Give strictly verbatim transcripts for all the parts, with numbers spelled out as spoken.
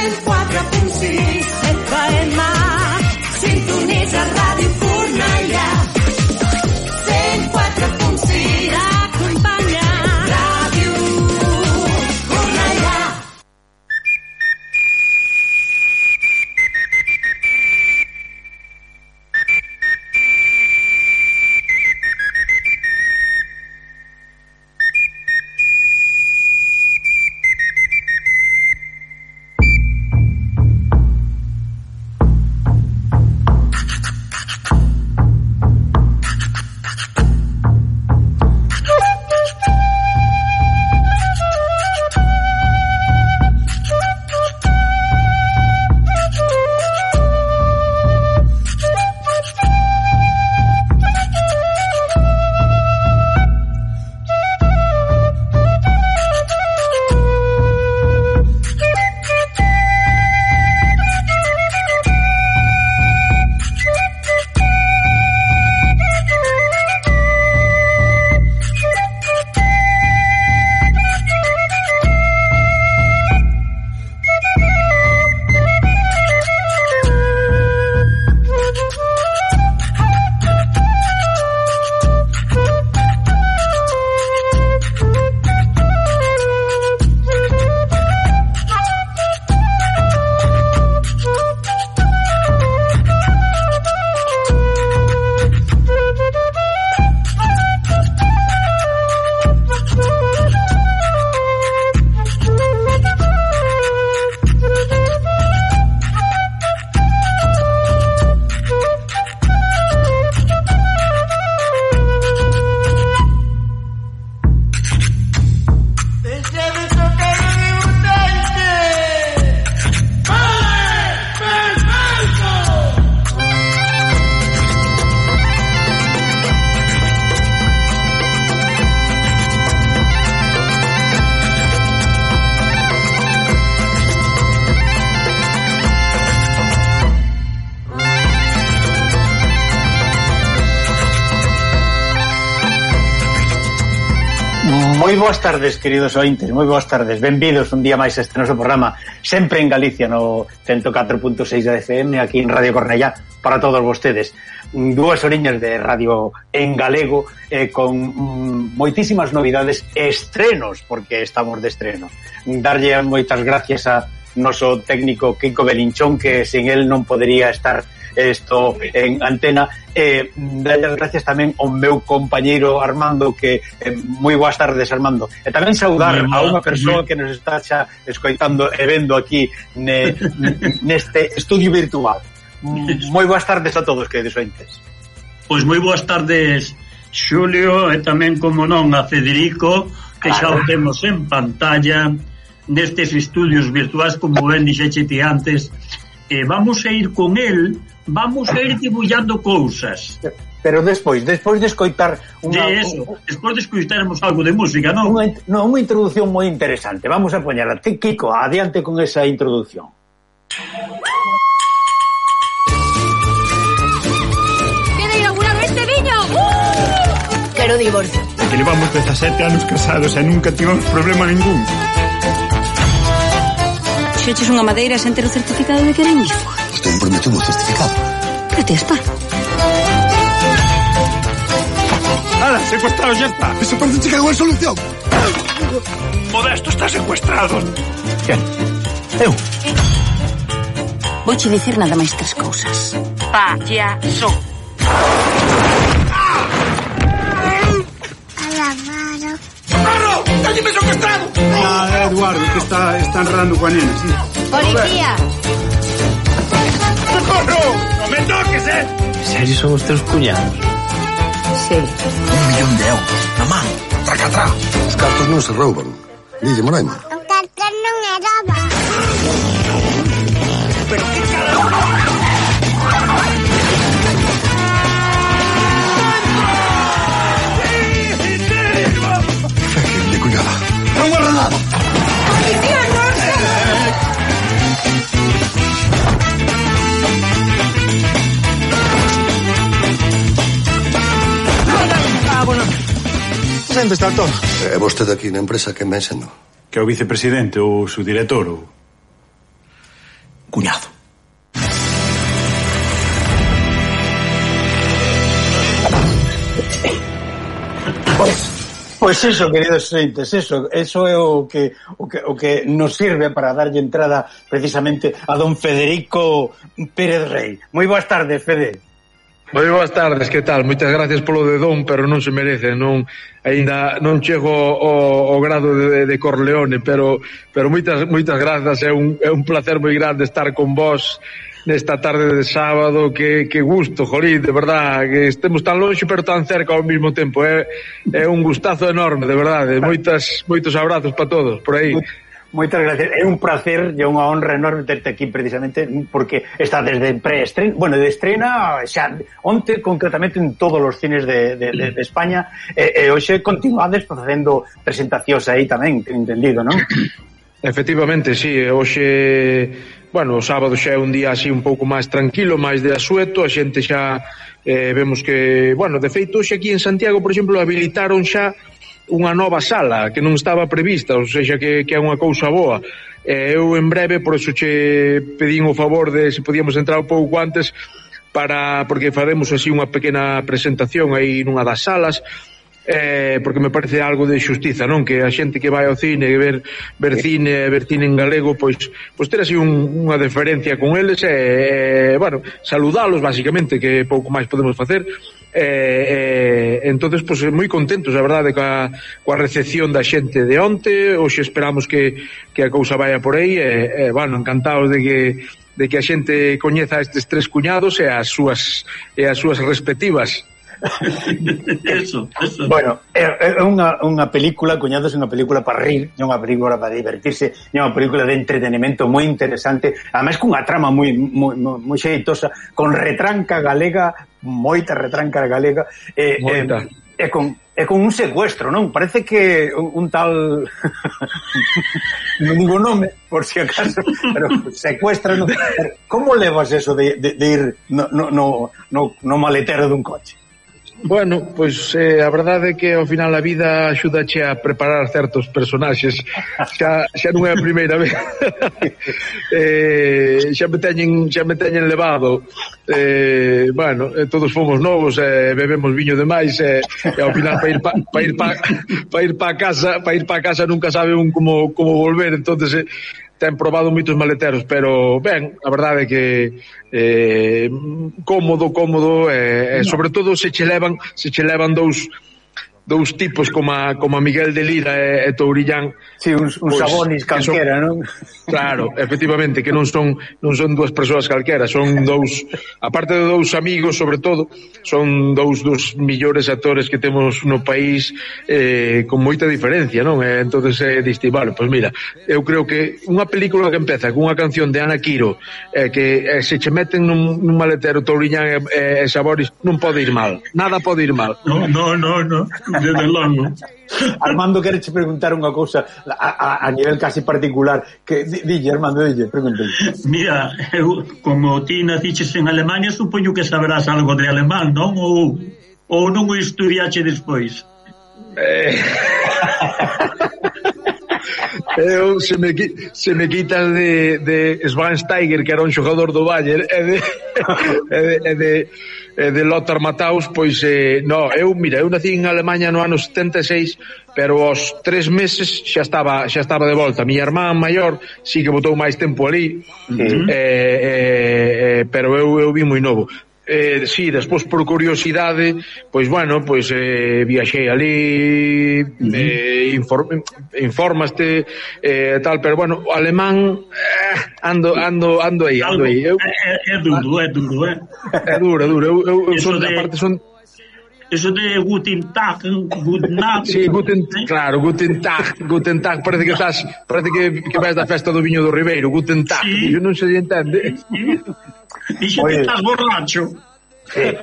cent quatre punt sis F M. Sintonitza Ràdio Cornellà. cent quatre punt sis t'acompanya. Ràdio Cornellà. Moi boas tardes, queridos ointes, moi boas tardes, benvidos un día máis a este noso programa, sempre en Galicia, no ciento catro punto seis da F M, aquí en Radio Cornellá, para todos vostedes. Dúas oriñas de radio en galego, eh, con mm, moitísimas novidades, estrenos, porque estamos de estreno. Darlle moitas gracias a noso técnico Kiko Belinchón, que sen él non podería estar isto en antena. Eh, darlle as gracias tamén ao meu compañeiro Armando, que eh, moi boas tardes, Armando, e tamén saudar a unha persoa que nos está xa escoitando e vendo aquí ne, neste estudio virtual. Moi boas tardes a todos, queridos ointes. Pois moi boas tardes, Xulio, e tamén, como non, a Federico, que xa o temos en pantalla nestes estudios virtuais, como ben dixeche ti antes. E vamos a ir con el, vamos a ir dibullando cousas. Pero despois, despois de escoitar unha, de eso, un, despois de escoitarmos algo de música, non? Unha, no, unha introducción moi interesante. Vamos a poñerla. Kiko, adiante con esa introducción. Queda inaugurado este viño. ¡Uh! Quero divorcio. É que levamos dezasete anos casados e nunca tivemos problema ningún. Xeches unha madeira sen ter o certificado de que era ignífuga. Usted me prometió un certificado. Protesta. ¡Hala, secuestrado ya está! ¡Esa parte chica igual solución! Modesto está secuestrado. ¿Quién? Eu. Vouche dicir nada máis tres cousas. Payaso. ¡Claro! ¡Cálleme secuestrado! Ah, Eduardo, que está, está enredando coa nena, sí. Policía. ¡Socorro! ¡No me toques, eh! Serio, son os teus cuñados? Sí. Un millón de euros na man, tracatrá. Os cartos non se rouban. Dille, Moraima. O cartón non é roba. Pero que carajo! Fíjate, cuñada. Non guarda nada. Policía, non se... Onde está todo? É vostede aquí na empresa que me enseñou. Que é o vicepresidente ou o subdirector ou... cuñado. Pois, pois eso, queridos ointes, eso, eso é o que, o que o que nos sirve para darlle entrada precisamente a don Federico Pérez Rey. Moi boas tardes, Fede. Moi boas tardes, que tal? Moitas gracias polo de don, pero non se merece, non aínda non chego ao, ao grado de, de Corleone, pero pero moitas moitas grazas, é un é un placer moi grande estar con vos nesta tarde de sábado, que, que gusto, jolín, de verdad, que estemos tan longe pero tan cerca ao mesmo tempo, é, é un gustazo enorme, de verdade, moitas, moitos abrazos para todos, por aí. Moitas gracias, é un placer e unha honra enorme terte aquí precisamente porque está desde pre-estrena, bueno, de estrena xa, onte concretamente en todos os cines de, de, de, de España e, e hoxe continuades facendo presentacións aí tamén, ten entendido, non? Efectivamente, sí, hoxe, bueno, o sábado xa é un día así un pouco máis tranquilo, máis de asueto, a xente xa eh, vemos que, bueno, de feito, hoxe aquí en Santiago, por exemplo, habilitaron xa unha nova sala que non estaba prevista, ou seja, que, que é unha cousa boa. Eh, eu en breve, por eso che pedín o favor de se podíamos entrar un pouco antes para, porque faremos así unha pequena presentación aí nunha das salas, eh, porque me parece algo de xustiza, non? Que a xente que vai ao cine, ver, ver cine, ver cine en galego, pois, pois ter así un, unha deferencia con eles e, eh, bueno, saludalos, basicamente, que pouco máis podemos facer. Eh, eh, entonces, pues, moi contentos, a verdade, coa, coa recepción da xente de onte. Hoxe esperamos que, que a cousa vaya por aí e, eh, bueno, encantados de que de que a xente coñeza estes tres cuñados e as súas e as súas respectivas. Eso, eso. Bueno, é, é unha, unha película, cuñados, é unha película para rir, é unha película para divertirse, é unha película de entretenimento moi interesante, ademais cunha trama moi moi moi xeitosa, con retranca galega, moita retranca galega, e eh, eh, con é con un secuestro, non? Parece que un, un tal non digo nome, por si acaso, pero secuestra, non? Como levas eso de, de, de ir no, no, no, no, no maletero dun coche? Bueno, pois eh, a verdade é que ao final a vida axúdache a preparar certos personaxes. Xa, xa non é a primeira vez. eh, xa me teñen xa me teñen levado. Eh, bueno, eh, todos fomos novos, eh, bebemos viño demais eh, e ao final para ir pa, pa ir pa, pa ir pa casa, para ir pa casa nunca sabe un como como volver, entonces eh, ten probado moitos maleteros, pero ben, a verdade é que eh, cómodo, cómodo e eh, sobre todo se che levan se che levan dous dous tipos como a, como a Miguel de Lira e, e Tourillán. Sí, uns, uns pues, sabonis calquera, non? Claro, efectivamente, que non son non son dúas persoas calquera, son dous, aparte de dous amigos, sobre todo, son dous dos millores actores que temos no país eh, con moita diferencia, non? E entonces é eh, diste, vale, pois pues mira, eu creo que unha película que empeza con unha canción de Ana Quiro eh, que eh, se che meten nun, nun maletero Tourillán e, e, e Sabonis, non pode ir mal, nada pode ir mal. No, no, no, no. Desde logo. Armando, quere che preguntar unha cousa a, a, a nivel casi particular que dille, Armando, dille, pregúntale. Mira, eu, como ti naciches en Alemania, supoño que saberás algo de alemán, non? Ou, ou non o estudiache despois? Eh... Eu, se me, se me quitas de, de Schweinsteiger, que era un xogador do Bayern, e de, e de, e de, e de Lothar Matthaus, pois, eh, no, eu, mira, eu nací en Alemanha no ano setenta e seis, pero aos tres meses xa estaba xa estaba de volta. A miña irmán maior sí que botou máis tempo ali, uh-huh. eh, eh, pero eu, eu vi moi novo. Eh, sí, despois por curiosidade, pois bueno, pois eh, viaxei ali, uh-huh. eh, inform, informaste eh, tal, pero bueno, o alemán eh, ando ando ando aí, ando aí. Eu, é, é duro, é duro, é. É duro, é duro. Eu, eu, eu son, de... aparte son Eso de Guten Tag, Guten Nacht. Sí, Guten, claro, Guten Tag, Guten Tag, parece que estás, parece que, que vais da festa do Viño do Ribeiro, Guten Tag, sí. Eu non se entende. Sí. Dixe que estás borracho. Sí.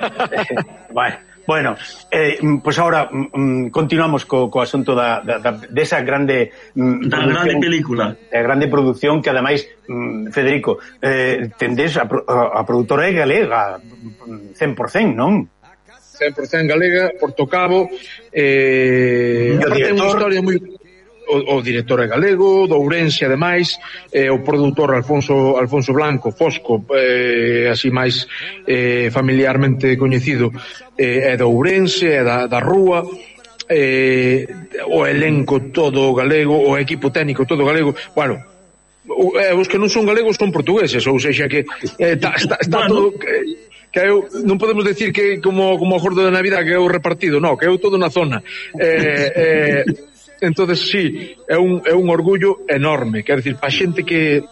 Bueno, bueno eh, pues ahora mm, continuamos co, co asunto da, da, da, desa grande mm, da grande película, da grande produción que ademais mm, Federico, eh, tendes a, a, a produtora é galega cen por cento, non? cen por cento galega, Portocabo, eh, e o director, unha historia moi o, o director é galego, do Ourense ademais, eh, o produtor Alfonso Alfonso Blanco, Fosco, eh, así máis eh, familiarmente coñecido, eh, é do Ourense, é da, da Rúa, eh, o elenco todo galego, o equipo técnico todo galego, bueno, eh, os que non son galegos son portugueses, ou seja que eh, está, está, está bueno. todo... Eh, que eu, non podemos decir que como como o gordo de Navidad que é o repartido, non, que é todo na zona. Eh, eh, entonces sí, é un é un orgullo enorme, quer decir, para a xente que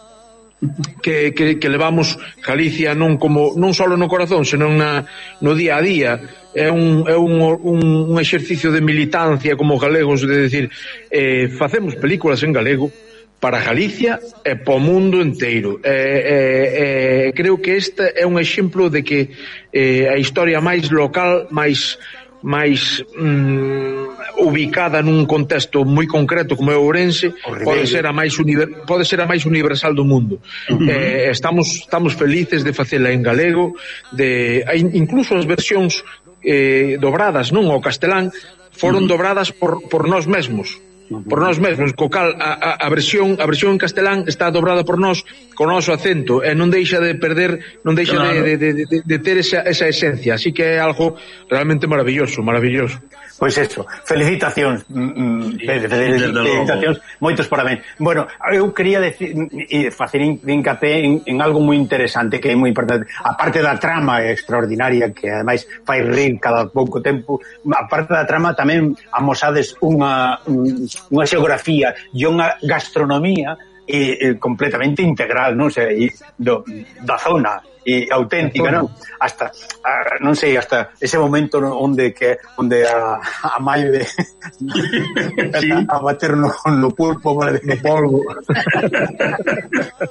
que que que levamos Galicia non como non só no corazón, senón na no día a día. É un é un un, un exercicio de militancia como galegos, de decir, eh facemos películas en galego para Galicia e para o mundo inteiro. Eh, eh, eh, creo que este é un exemplo de que eh, a historia máis local, máis máis mm, ubicada nun contexto moi concreto como é o Ourense, pode ser a máis univer, pode ser a máis universal do mundo. Uh-huh. Eh, estamos estamos felices de facela en galego, de incluso as versións eh, dobradas, non, ao castelán, foron uh-huh. dobradas por por nós mesmos. por nós mesmos, co cal a, a, a versión a versión en castelán está dobrada por nós con o noso acento e non deixa de perder, non deixa claro. de, de, de, de ter esa, esa esencia, así que é algo realmente maravilloso, maravilloso. Pois pues eso, felicitacións, mm, felicitacións, moitos parabéns. Bueno, eu quería decir, e facer hincapé en, en algo moi interesante, que é moi importante, a parte da trama extraordinaria, que ademais fai rir cada pouco tempo, a parte da trama tamén amosades unha, unha xeografía e unha gastronomía e, e completamente integral, non sei, do, da zona e auténtica, non? Hasta a, non sei, hasta ese momento onde que onde a, a mãe de sí. a, a bater no, no pulpo, no polvo.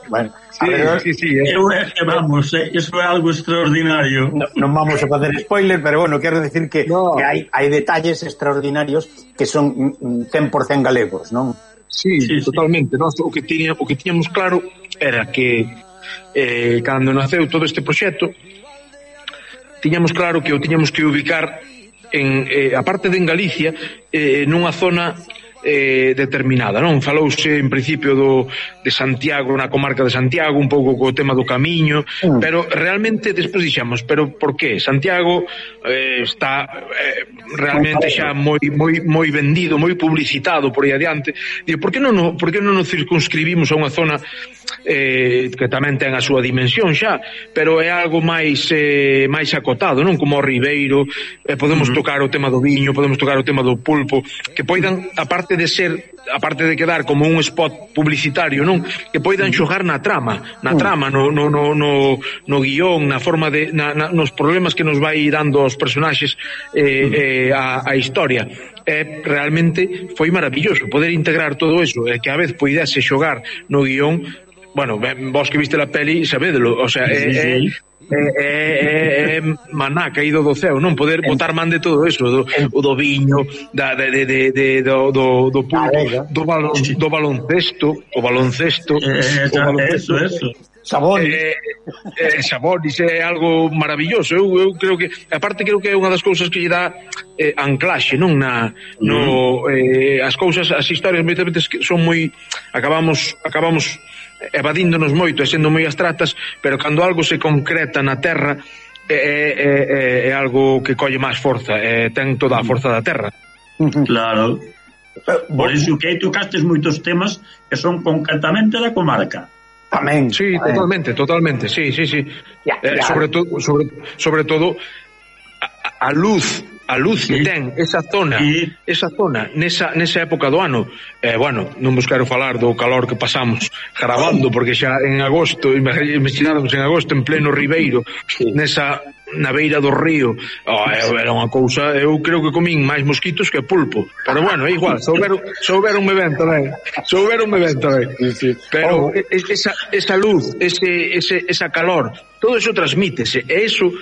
Bueno, sí, ver, sí, sí, eh. Eu é que vamos, eh, eso é algo extraordinario. No, non vamos a facer spoiler, pero bueno, quero decir que, no. que hai, hai detalles extraordinarios que son cen por cento galegos, non? Sí, sí, totalmente. Sí. Nos, o que tiña, o que tiñamos claro era que eh, cando naceu todo este proxecto tiñamos claro que o tiñamos que ubicar en, eh, a parte de en Galicia, eh, nunha zona eh, determinada, non? Falouse en principio do, de Santiago, na comarca de Santiago, un pouco co tema do camiño, mm. pero realmente despois dixamos, pero por qué? Santiago eh, está eh, realmente xa moi moi moi vendido, moi publicitado por aí adiante. Digo, por que non no, por que non nos circunscribimos a unha zona eh, que tamén ten a súa dimensión xa, pero é algo máis eh, máis acotado, non? Como o Ribeiro, eh, podemos mm. tocar o tema do viño, podemos tocar o tema do pulpo, que poidan, aparte de ser, aparte de quedar como un spot publicitario, non? Que poidan xogar na trama, na trama, no, no, no, no, no guión, na forma de, na, na, nos problemas que nos vai dando os personaxes eh, eh, a, a historia. Eh, realmente foi maravilloso poder integrar todo eso, e eh, que a vez poidese xogar no guión. Bueno, vos que viste la peli sabédelo, o sea, é sí, sí. É, é, é maná caído do ceo, non poder botar man de todo eso, do, o do viño, da, de, de, de, de, do, do, do pulpo, do, balon, do baloncesto, o baloncesto, eh, o baloncesto, eso, eso. Sabonis. Eh, eh, Sabonis é algo maravilloso. Eu, eu creo que, aparte creo que é unha das cousas que lle dá eh, anclaxe, non? Na, no, eh, as cousas, as historias moitas veces son moi, acabamos, acabamos evadíndonos moito e sendo moi abstractas, pero cando algo se concreta na terra é, é, é, é algo que colle máis forza, é, ten toda a forza da terra. Claro. Por iso que aí tocastes moitos temas que son concretamente da comarca. Tamén. Sí, tamén. totalmente, totalmente, sí, sí, sí. Ya, ya. Eh, sobre todo, sobre, sobre todo a, a luz a luz sí. que ten esa zona, sí. esa zona nesa, nesa época do ano, eh, bueno, non vos quero falar do calor que pasamos grabando, porque xa en agosto, imagináramos en agosto en pleno Ribeiro, sí. nesa na beira do río, oh, era unha cousa, eu creo que comín máis mosquitos que pulpo, pero bueno, é igual, souberon, souberonme ben tamén, souberonme ben tamén, sí, sí. pero oh. esa, esa luz, ese, ese, esa calor, todo eso transmítese, e eso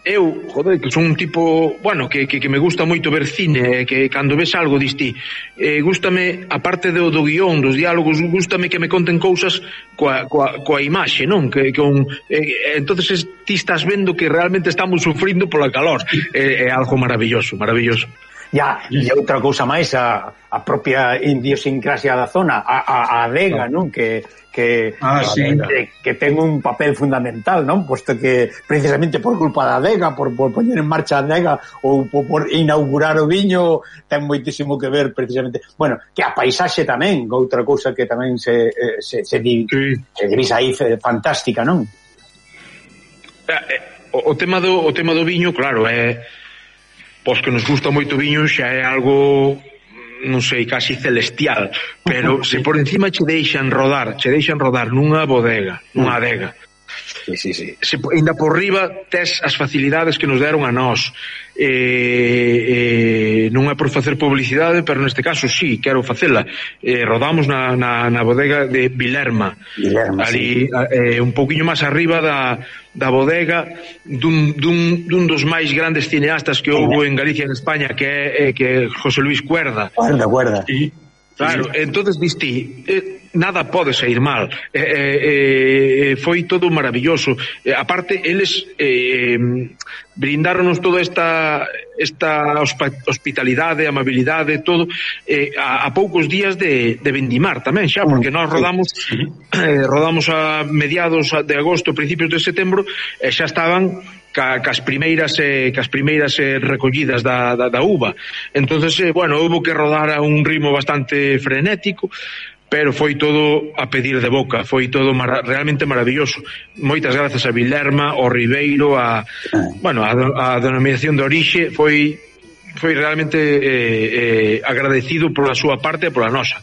eu, joder, que son un tipo, bueno, que, que, que me gusta moito ver cine, que cando ves algo diste, eh, gústame, aparte do, do guión, dos diálogos, gústame que me conten cousas coa, coa, coa imaxe, non? Que, con, eh, entonces ti estás vendo que realmente estamos sufrindo pola calor, é, é algo maravilloso, maravilloso. Ya, e outra cousa máis, a, a propia idiosincrasia da zona, a, a, a adega, non? Que, que, ah, sí. que, que ten un papel fundamental, non? Posto que precisamente por culpa da adega, por, por poñer en marcha a adega ou por, por inaugurar o viño, ten moitísimo que ver precisamente, bueno, que a paisaxe tamén, outra cousa que tamén se, se, se, di, sí. se divisa aí fantástica, non? O, o tema do o tema do viño, claro, é pois que nos gusta moito o viño xa é algo, non sei, casi celestial, pero se por encima che deixan rodar, che deixan rodar nunha bodega, nunha adega. Sí, sí, sí. Se, ainda por riba tes as facilidades que nos deron a nós. Eh, eh, non é por facer publicidade, pero neste caso sí, quero facela. Eh, rodamos na, na, na bodega de Vilerma, Vilerma ali, sí. eh, un pouquiño máis arriba da, da bodega dun, dun, dun dos máis grandes cineastas que houve en Galicia e en España, que é eh, que José Luis Cuerda. Cuerda, Cuerda. Sí. Claro, sí. Entonces diste, eh, nada pode sair mal. Eh, eh, foi todo maravilloso. Eh, aparte, eles eh, brindáronos toda esta esta hospitalidade, amabilidade, todo, eh, a, a poucos días de, de vendimar tamén xa, porque nós rodamos eh, rodamos a mediados de agosto, principios de setembro, e xa estaban ca, cas primeiras eh, cas primeiras eh, recollidas da, da, da uva. Entonces, eh, bueno, houve que rodar a un ritmo bastante frenético, pero foi todo a pedir de boca, foi todo mar realmente maravilloso. Moitas grazas a Vilerma, ao Ribeiro, a, bueno, a, a denominación de orixe, foi foi realmente eh, eh, agradecido pola súa parte e pola nosa.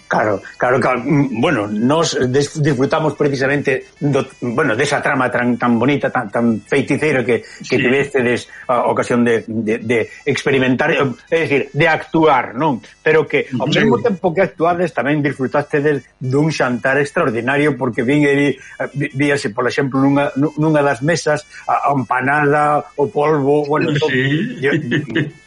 Claro, claro, claro. Bueno, nos disfrutamos precisamente do, bueno, desa trama tan, tan bonita, tan, tan feiticeira que, que sí. Tivestedes a ocasión de, de, de experimentar, é dicir, de actuar, non? Pero que ao sí. mesmo tempo que actuades tamén disfrutastedes dun xantar extraordinario, porque vin aí, víase, por exemplo, nunha, nunha das mesas a, a empanada, o polvo, bueno, todo, sí. yo,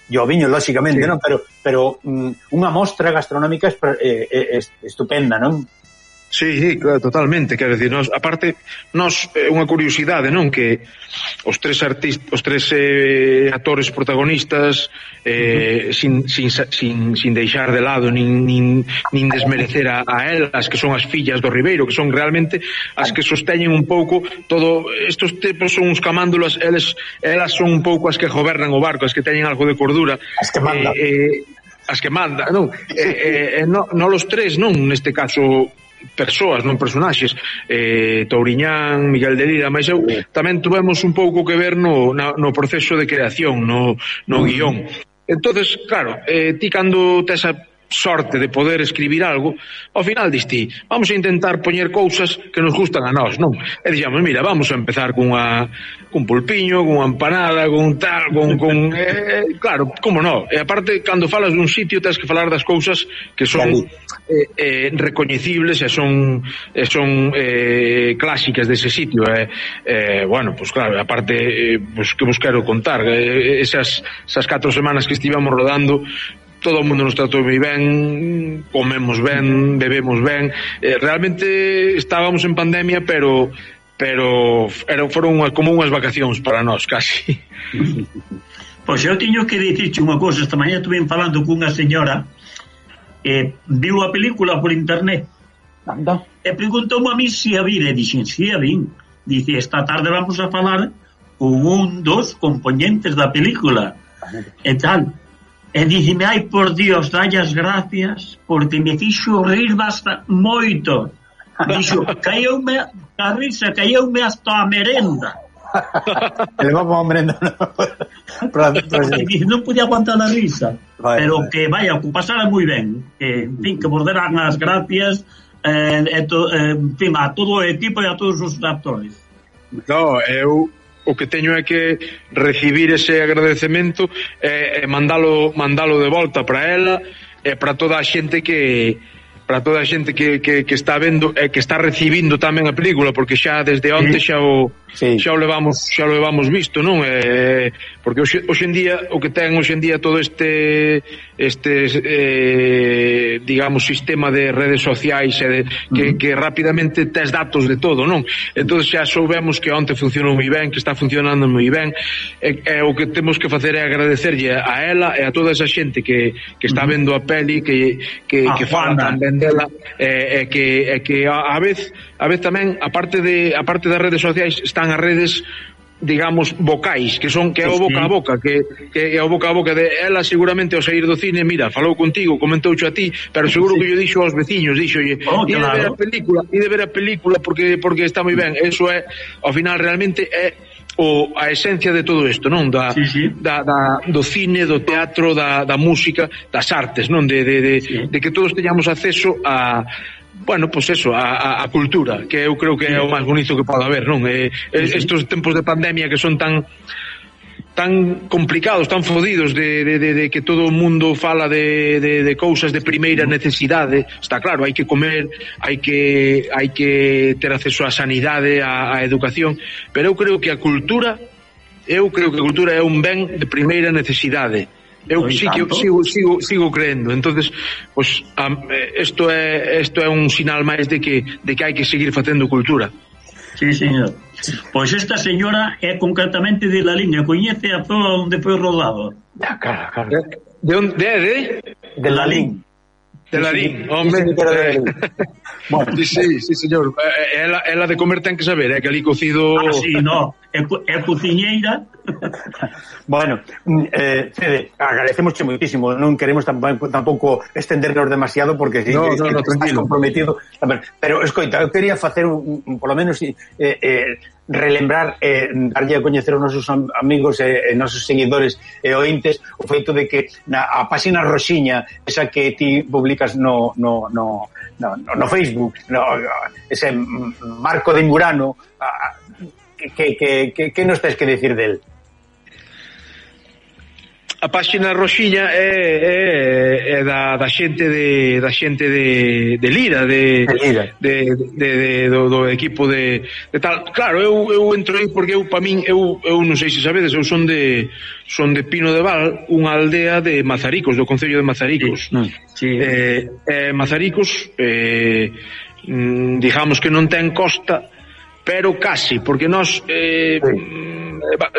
e o viño, lóxicamente, sí. non? Pero, pero um, unha mostra gastronómica eh, eh, estupenda, non? Sí, sí, claro, totalmente, quero dicir, nos, aparte, nos, é eh, unha curiosidade, non? Que os tres artistas, os tres eh, actores protagonistas, eh, uh -huh. sin, sin, sin, sin deixar de lado, nin, nin, nin desmerecer a, a elas, que son as fillas do Ribeiro, que son realmente as que sosteñen un pouco todo, estos tipos son uns camándulas, eles, elas son un pouco as que gobernan o barco, as que teñen algo de cordura. As que mandan. Eh, eh, as que mandan, non? Eh, eh, no, no los tres, non? Neste caso, persoas, non personaxes, eh, Touriñán, Miguel de Lira, mas eu tamén tuvemos un pouco que ver no, no, no proceso de creación, no, no guión. Entonces, claro, eh, ti cando tes a sorte de poder escribir algo, ao final diste, vamos a intentar poñer cousas que nos gustan a nós, non? E dixamos, mira, vamos a empezar cunha cun pulpiño, cunha empanada, con tal, con, con eh, claro, como non? E aparte, cando falas dun sitio, tens que falar das cousas que son eh, eh, recoñecibles e son e son eh, clásicas dese sitio, eh, eh, bueno, pues claro, aparte, eh, pues que vos quero contar, eh, esas, esas catro semanas que estivemos rodando, todo o mundo nos tratou moi ben, comemos ben, bebemos ben, eh, realmente estábamos en pandemia, pero pero eran, foron unha, como unhas vacacións para nós, casi. Pois eu tiño que dicirche unha cosa, esta mañá estuve falando cunha señora que viu a película por internet. Anda. E preguntou a mí se a vi, e dixen, si a vi. Dice, esta tarde vamos a falar con un dos componentes da película. E tal. E dixeme, ai, por Dios, dalle as gracias, porque me fixo rir basta moito. Dixo, caeume a risa, caeume hasta a merenda. Le vamos a merenda, non? Non podía aguantar a risa. Vai, pero vai. Que, vaya, que pasara moi ben. Que, en fin, que vos deran as gracias eh, e to, eh, en fin, a todo o equipo e a todos os actores. No, eu... o que teño é que recibir ese agradecemento e eh, mandalo mandalo de volta para ela e para toda a xente que para toda a xente que, que, que está vendo e que está recibindo tamén a película, porque xa desde onte xa o sí. xa o levamos xa o levamos visto, non? Eh, porque hoxe, hoxe en día o que ten hoxe en día todo este este eh, digamos sistema de redes sociais e de, que, uh-huh. que rapidamente tes datos de todo, non? Entón xa soubemos que onte funcionou moi ben, que está funcionando moi ben, e, e o que temos que facer é agradecerlle a ela e a toda esa xente que, que está uh-huh. vendo a peli, que, que, ah, que fala tamén dela, e, e que, e que a, a vez a vez tamén, aparte de aparte das redes sociais, están as redes digamos vocais, que son que é o boca a boca, que, que é o boca a boca de ela. Seguramente ao sair do cine, mira, falou contigo, comentoucho a ti, pero seguro sí. que yo dixo aos veciños, dixo, oh, e claro. de ver a película, e de ver a película porque porque está moi ben. Eso é, ao final realmente é o a esencia de todo isto, non? Da, sí, sí. da, da do cine, do teatro, da, da música, das artes, non? De, de, de, sí. de que todos teñamos acceso a bueno, pois pues eso, a, a, a cultura, que eu creo que é o máis bonito que pode haber, non? Eh, estos tempos de pandemia que son tan tan complicados, tan fodidos de, de, de, de que todo o mundo fala de, de, de cousas de primeira necesidade. Está claro, hai que comer, hai que hai que ter acceso á sanidade, á, á educación, pero eu creo que a cultura eu creo que a cultura é un ben de primeira necesidade. Eu sí que sigo, sigo, sigo creendo. Entonces, pues, isto é isto é un sinal máis de que de que hai que seguir facendo cultura. Sí, señor. Pois esta señora é concretamente de La Liña, coñece a zona onde foi rodado. Ah, claro, claro. De onde de, de? De La Liña. De La Liña, hombre. Bueno, sí, sí, sí, señor. Ela, ela de comer ten que saber, é que ali cocido... Ah, sí, no, é, é cociñeira. Bueno, eh, Fede, agradecemos moitísimo, non queremos tampouco, tampouco extendernos demasiado porque si no, es, no, no, estás comprometido, pero escoita, eu quería facer un, un, por lo menos eh, eh, relembrar, eh, darlle a coñecer aos nosos amigos e eh, nosos seguidores e ointes o feito de que na a páxina roxiña, esa que ti publicas no no no no, no Facebook, no, ese Marco de Murano, que que que que nos tens que decir del? A páxina roxiña é, é, é da, da xente de da xente de, de Lira, de, de, Lira. de, de, de do, do equipo de, de tal. Claro, eu, eu entro aí porque eu pa min eu, eu non sei se sabedes, eu son de son de Pino de Val, unha aldea de Mazaricos, do concello de Mazaricos. Sí, sí. Eh, eh, Mazaricos eh, digamos que non ten costa, pero casi, porque nós eh, sí.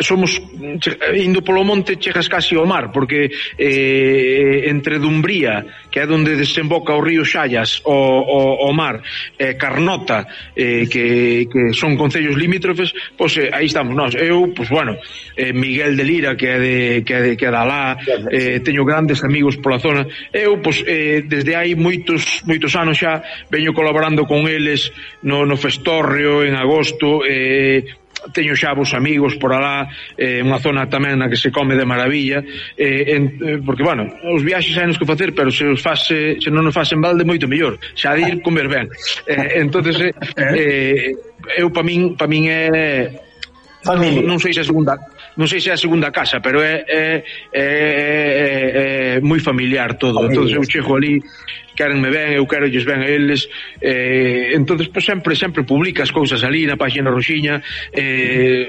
somos indo polo monte chegas casi ao mar, porque eh, entre Dumbría, que é onde desemboca o río Xallas, o, o, o mar, eh, Carnota, eh, que, que son concellos limítrofes, pois eh, aí estamos nós. Eu, pois bueno, eh, Miguel de Lira, que é de que é de que é da lá, eh, teño grandes amigos pola zona. Eu, pois eh, desde hai moitos moitos anos xa veño colaborando con eles no, no Festorrio en agosto. eh, teño xa vos amigos por alá, eh, unha zona tamén na que se come de maravilla, eh, en, eh, porque, bueno, os viaxes hai nos que facer, pero se os fase, se non os fasen balde, moito mellor, xa de ir comer ben. Eh, entonces eh, eh, eu pa min, pa min é familia. Non, non sei se a segunda non sei se é a segunda casa, pero é é, é, é, é moi familiar todo. Entonces eu chego ali, querenme ben, eu quero lles ben a eles, eh, entonces pues, sempre sempre publicas cousas ali na página roxiña, eh,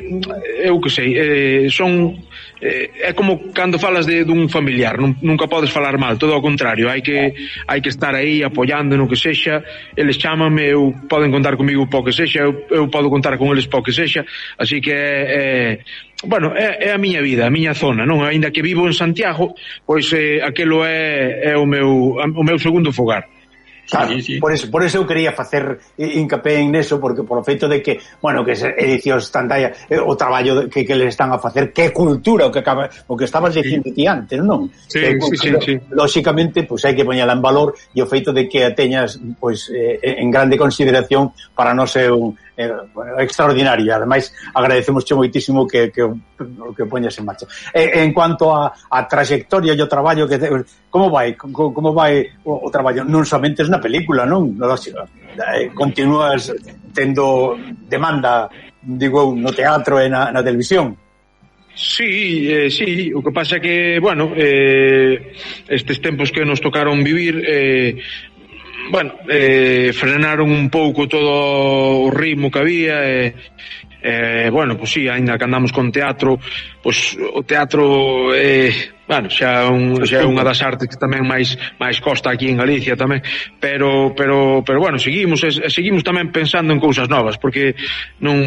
eu que sei, eh, son eh, é como cando falas de dun familiar, nun, nunca podes falar mal, todo ao contrario, hai que hai que estar aí apoiando no que sexa. Eles chámanme, eu poden contar comigo po que sexa, eu, eu podo contar con eles po que sexa, así que é, é bueno, é, é a miña vida, a miña zona, non? Aínda que vivo en Santiago, pois eh, aquelo é, é o meu o meu segundo fogar. Claro, sí, sí. Por eso, por eso eu quería facer hincapé en eso, porque por o feito de que, bueno, que edicións Tandaya, eh, o traballo que, que le están a facer, que cultura, o que acaba, o que estabas dicindo ti antes, non? Sí, cultura, sí, sí, sí. Lóxicamente, pois pues, hai que poñela en valor, e o feito de que a teñas pois pues, eh, en grande consideración para non ser un eh, bueno, extraordinario. Ademais, agradecemos moitísimo que, que, que poñas en marcha. Eh, en cuanto a, a trayectoria e o traballo que como vai, como, como vai o, o traballo? Non somente na película, non? Eh, continúas tendo demanda, digo, no teatro e na, na televisión. Sí, eh, sí, o que pasa é que, bueno, eh, estes tempos que nos tocaron vivir, eh, bueno, eh, frenaron un pouco todo o ritmo que había, e eh, eh, bueno, pois pues sí, ainda que andamos con teatro, pois pues, o teatro eh, bueno, xa un, xa é unha das artes que tamén máis máis costa aquí en Galicia tamén, pero pero pero bueno, seguimos e seguimos tamén pensando en cousas novas, porque non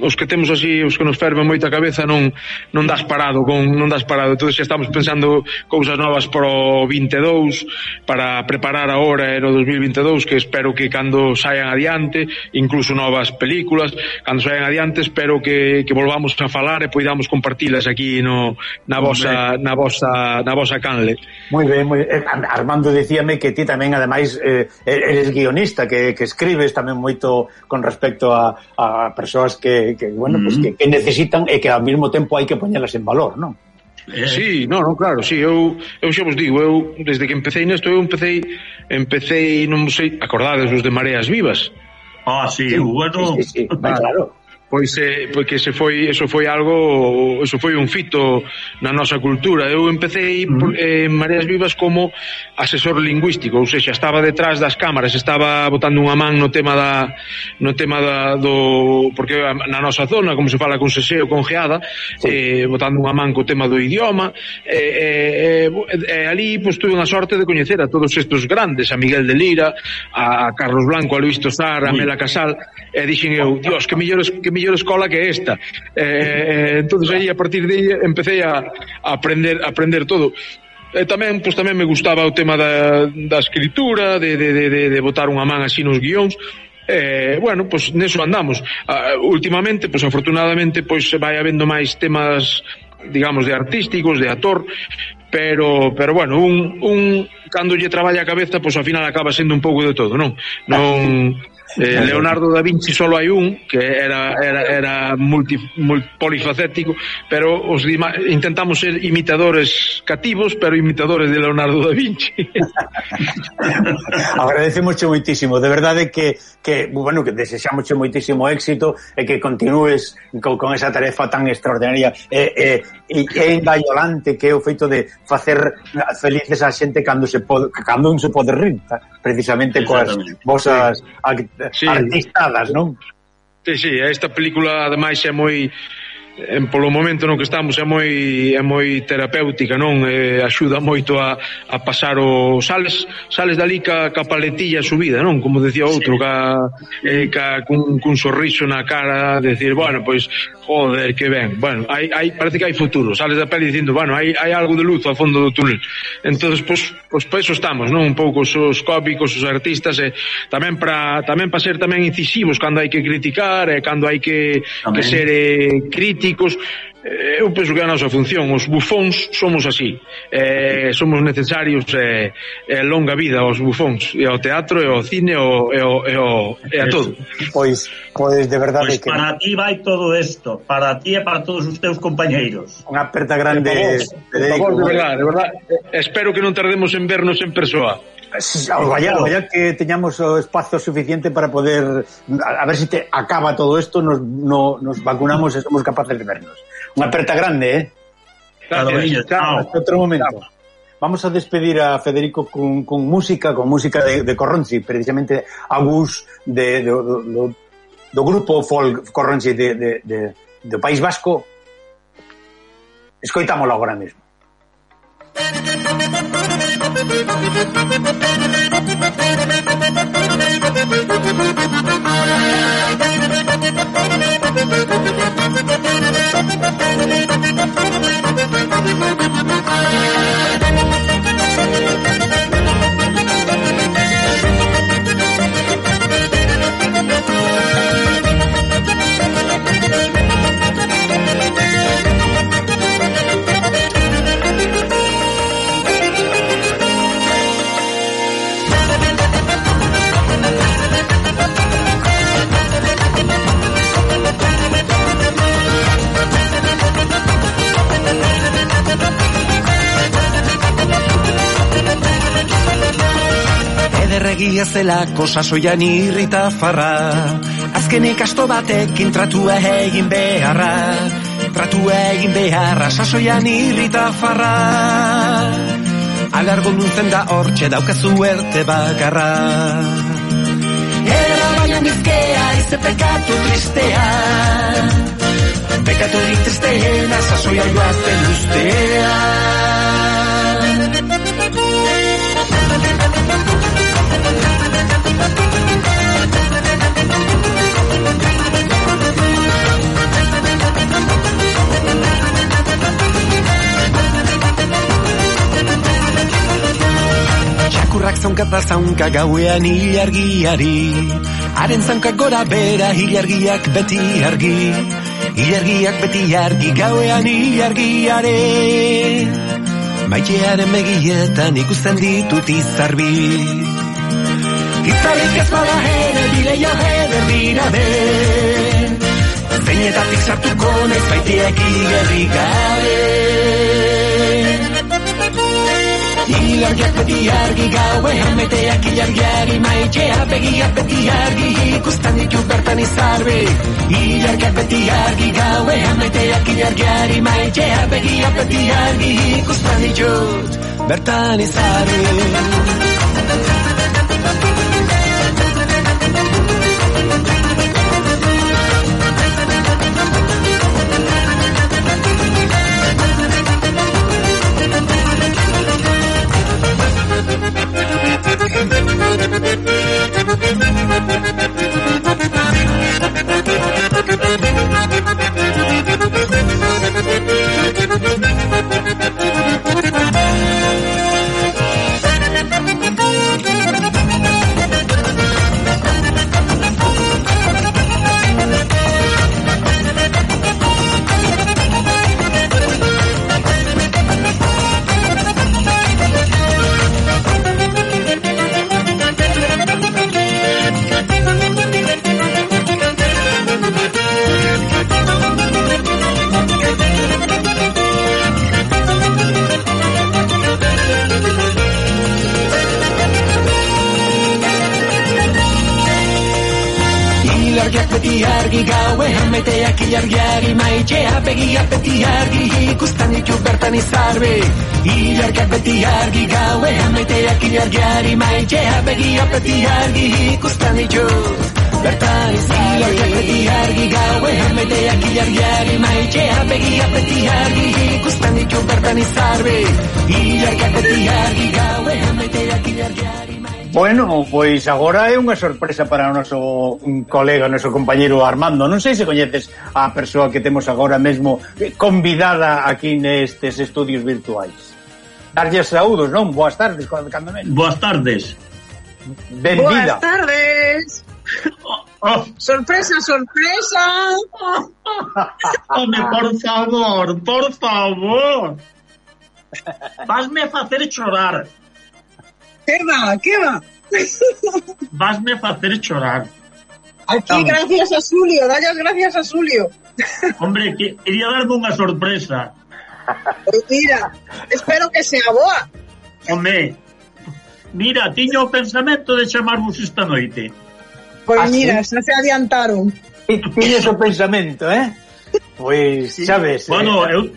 os que temos así, os que nos ferven moita cabeza non non das parado con non das parado, entonces xa estamos pensando cousas novas para o vinte e dous, para preparar agora no dos mil vinte e dous, que espero que cando saian adiante, incluso novas películas, cando saian adiante, espero que que volvamos a falar e poidamos compartilas aquí no na vosa na vosa na vosa canle. Moi ben, moi ben. Armando dicíame que ti tamén ademais eh, eres guionista, que, que escribes tamén moito con respecto a, a persoas que, que bueno, mm-hmm. pues que, que necesitan e que ao mesmo tempo hai que poñelas en valor, non? Eh. Sí, no, no, claro, sí, eu eu xa vos digo, eu desde que empecé nesto, eu empecei empecé, non sei, acordades os de Mareas Vivas. Ah, sí, sí, bueno. Sí, sí, sí. Ah, claro. Pois eh, porque se foi, eso foi algo, eso foi un fito na nosa cultura. Eu empecé mm. por, eh, en Mareas Vivas como asesor lingüístico, ou seja, estaba detrás das cámaras, estaba botando unha man no tema da no tema da, do, porque na nosa zona, como se fala con seseo, con geada, sí. eh, botando unha man co tema do idioma, e eh, eh, eh, ali pois tuve unha sorte de coñecer a todos estes grandes, a Miguel de Lira, a Carlos Blanco, a Luis Tosar, a Mela Casal, e dixen eu, Dios, que mellores que mellor escola que esta. Eh, entonces aí a partir de aí empecé a, a aprender a aprender todo. E tamén, pois tamén me gustaba o tema da, da escritura, de, de, de, de botar unha man así nos guións. Eh, bueno, pois neso andamos. Uh, últimamente, pois afortunadamente, pois vai habendo máis temas, digamos, de artísticos, de actor, pero pero bueno, un un cando lle traballa a cabeza, pois ao final acaba sendo un pouco de todo, non? Non Eh, Leonardo da Vinci solo hai un que era era era multi, multi polifacético, pero os intentamos ser imitadores cativos, pero imitadores de Leonardo da Vinci. Agradecemos moitísimo, de verdade que que bueno, que desexamos moitísimo éxito e que continúes con, con esa tarefa tan extraordinaria e eh, eh, é engallolante que é o feito de facer felices a xente cando se pode, cando un se pode rir, precisamente coas vosas sí. artistadas, non? Sí, sí, esta película ademais é moi en polo momento no que estamos é moi é moi terapéutica, non? Eh, axuda moito a, a pasar o sales sales dali ca, ca paletilla subida, non? Como decía outro, sí. ca, eh, ca cun, cun sorriso na cara, decir, bueno, pois joder, que ben. Bueno, hai, hai, parece que hai futuro. Sales da peli dicindo, bueno, hai, hai algo de luz ao fondo do túnel. Entonces, pois, pois para eso estamos, non? Un pouco os cómicos, os artistas, e tamén para tamén para ser tamén incisivos cando hai que criticar, e cando hai que, que ser eh, críticos. Eu penso que é a nosa función. Os bufóns somos así, eh, somos necesarios, e eh, eh, longa vida aos bufóns, e ao teatro, e ao cine, e, ao, e, ao, e, ao, e a todo. Pois, pois de verdade pues que para ti vai todo isto, para ti e para todos os teus compañeiros. Unha aperta grande, Federico. De verdade, de verdade, espero que non tardemos en vernos en persoa. Vaya, vaya que teñamos o espazo suficiente para poder a, a ver se si te acaba todo isto, nos, no, nos vacunamos e somos capaces de vernos. Unha aperta grande, eh? Gracias. Chao, hasta outro momento. Chao. Vamos a despedir a Federico con, con música, con música de, de Corronzi, precisamente a Gus de, de, do, do, do grupo folk Corronzi de, de, de, do País Vasco. Escoitámoslo agora mesmo. Egia zela kosa soian irrita farra, azkenik asto batekin tratua egin beharra, tratua egin beharra, sasoian irrita farra. Alargo nuntzen da hortxe daukazu erte bakarra. Era baina nizkea ize pekatu tristea, pekatu tristea, sasoia joazten ustea. zaunka eta zaunka gauean ilargiari. Haren zaunka gora bera ilargiak beti argi. Ilargiak beti argi gauean ilargiare. Maitearen begietan ikusten ditut izarbi. Itzalik ez bada ere bideia eder dira den. Zeinetatik sartuko naiz baitiek igerri gabe. Ilargiak beti argi gauean beteak ilargiari. Maiteak begiak beti argi ikusten ditut bertan izarbi. Ilargiak beti argi gauean beteak ilargiari. Maiteak begiak beti argi ikusten ditut bertan izarbi. Gauean meteak ilargiari. Maiteak begiak beti argi ikusten ditut bertan izarbi. Ilargiak beti argi gauean meteak ilargiari. Maiteak begiak beti argi ikusten ditut bertan izarbi. Ilargiak beti argi gauean meteak ilargiari. Maiteak begiak beti argi ikusten ditut bertan izarbi. Ilargiak beti argi gauean meteak ilargiari. Bueno, pois agora é unha sorpresa para o noso colega, o noso compañeiro Armando. Non sei se coñeces a persoa que temos agora mesmo convidada aquí nestes estudios virtuais. Darlle saúdos, non? Boas tardes, cando menos. Boas tardes. Benvida. Boas tardes. Oh, oh. Sorpresa, sorpresa. Home, por favor, por favor. Vasme facer chorar. Que va, que va. Vasme facer chorar. Aquí Vamos. Gracias a Xulio, dallas gracias a Xulio. Hombre, que, quería darme unha sorpresa. Pues mira, espero que sea boa. Home, mira, tiño o pensamento de chamarvos esta noite. Pois ¿Ah, mira, sí? xa se adiantaron. Tiñes o pensamento, eh? Pois, Sí. sabes... Bueno, eh... eu,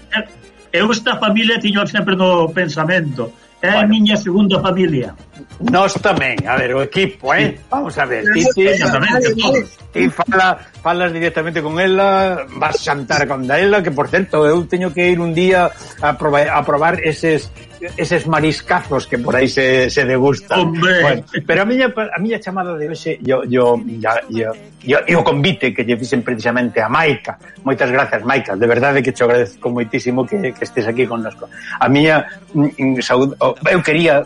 eu esta familia tiño sempre no pensamento. É a Bueno. miña segunda familia. Nós tamén, a ver, o equipo, eh? Vamos a ver, ti, ti, Exactamente, todos. ti fala, falas directamente con ela, vas xantar con ela, que por certo, eu teño que ir un día a probar, a probar eses eses mariscazos que por aí se, se degustan. Hombre. Bueno, pero a miña a miña chamada de hoxe, yo yo ya yo yo o convite que lle fixen precisamente a Maica. Moitas grazas, Maica, de verdade que te agradezco moitísimo que, que estés aquí connosco. A miña mm, saúde, eu quería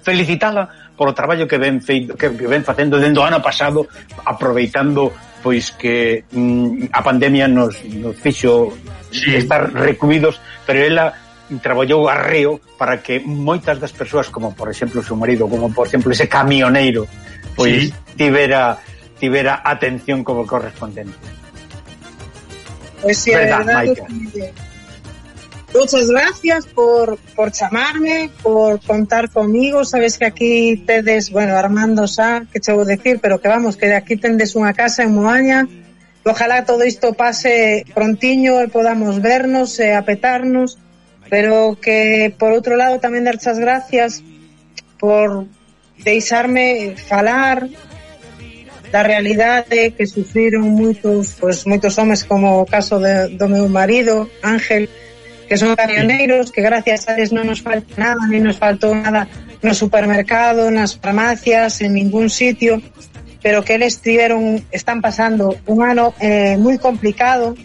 felicitala por o traballo que ven feito, que, que ven facendo dende o ano pasado, aproveitando pois que mm, a pandemia nos, nos fixo sí. estar recluídos, pero ela traballou arreo para que moitas das persoas, como por exemplo o seu marido, como por exemplo ese camioneiro, pois sí. tivera tivera atención como correspondente. Pois si, é verdade. Muchas gracias por, por chamarme, por contar conmigo. Sabes que aquí tedes, bueno, Armando xa, que che vou decir, pero que vamos, que de aquí tendes unha casa en Moaña. Ojalá todo isto pase prontiño e podamos vernos e apetarnos, pero que, por outro lado, tamén dar as gracias por deixarme falar da realidade que sufriron moitos, pois, moitos homes, como o caso de, do meu marido, Ángel, que son camioneiros, que gracias a eles non nos falta nada, nem nos faltou nada no supermercado, nas farmacias, en ningún sitio, pero que eles tiveron, están pasando un ano eh, moi complicado,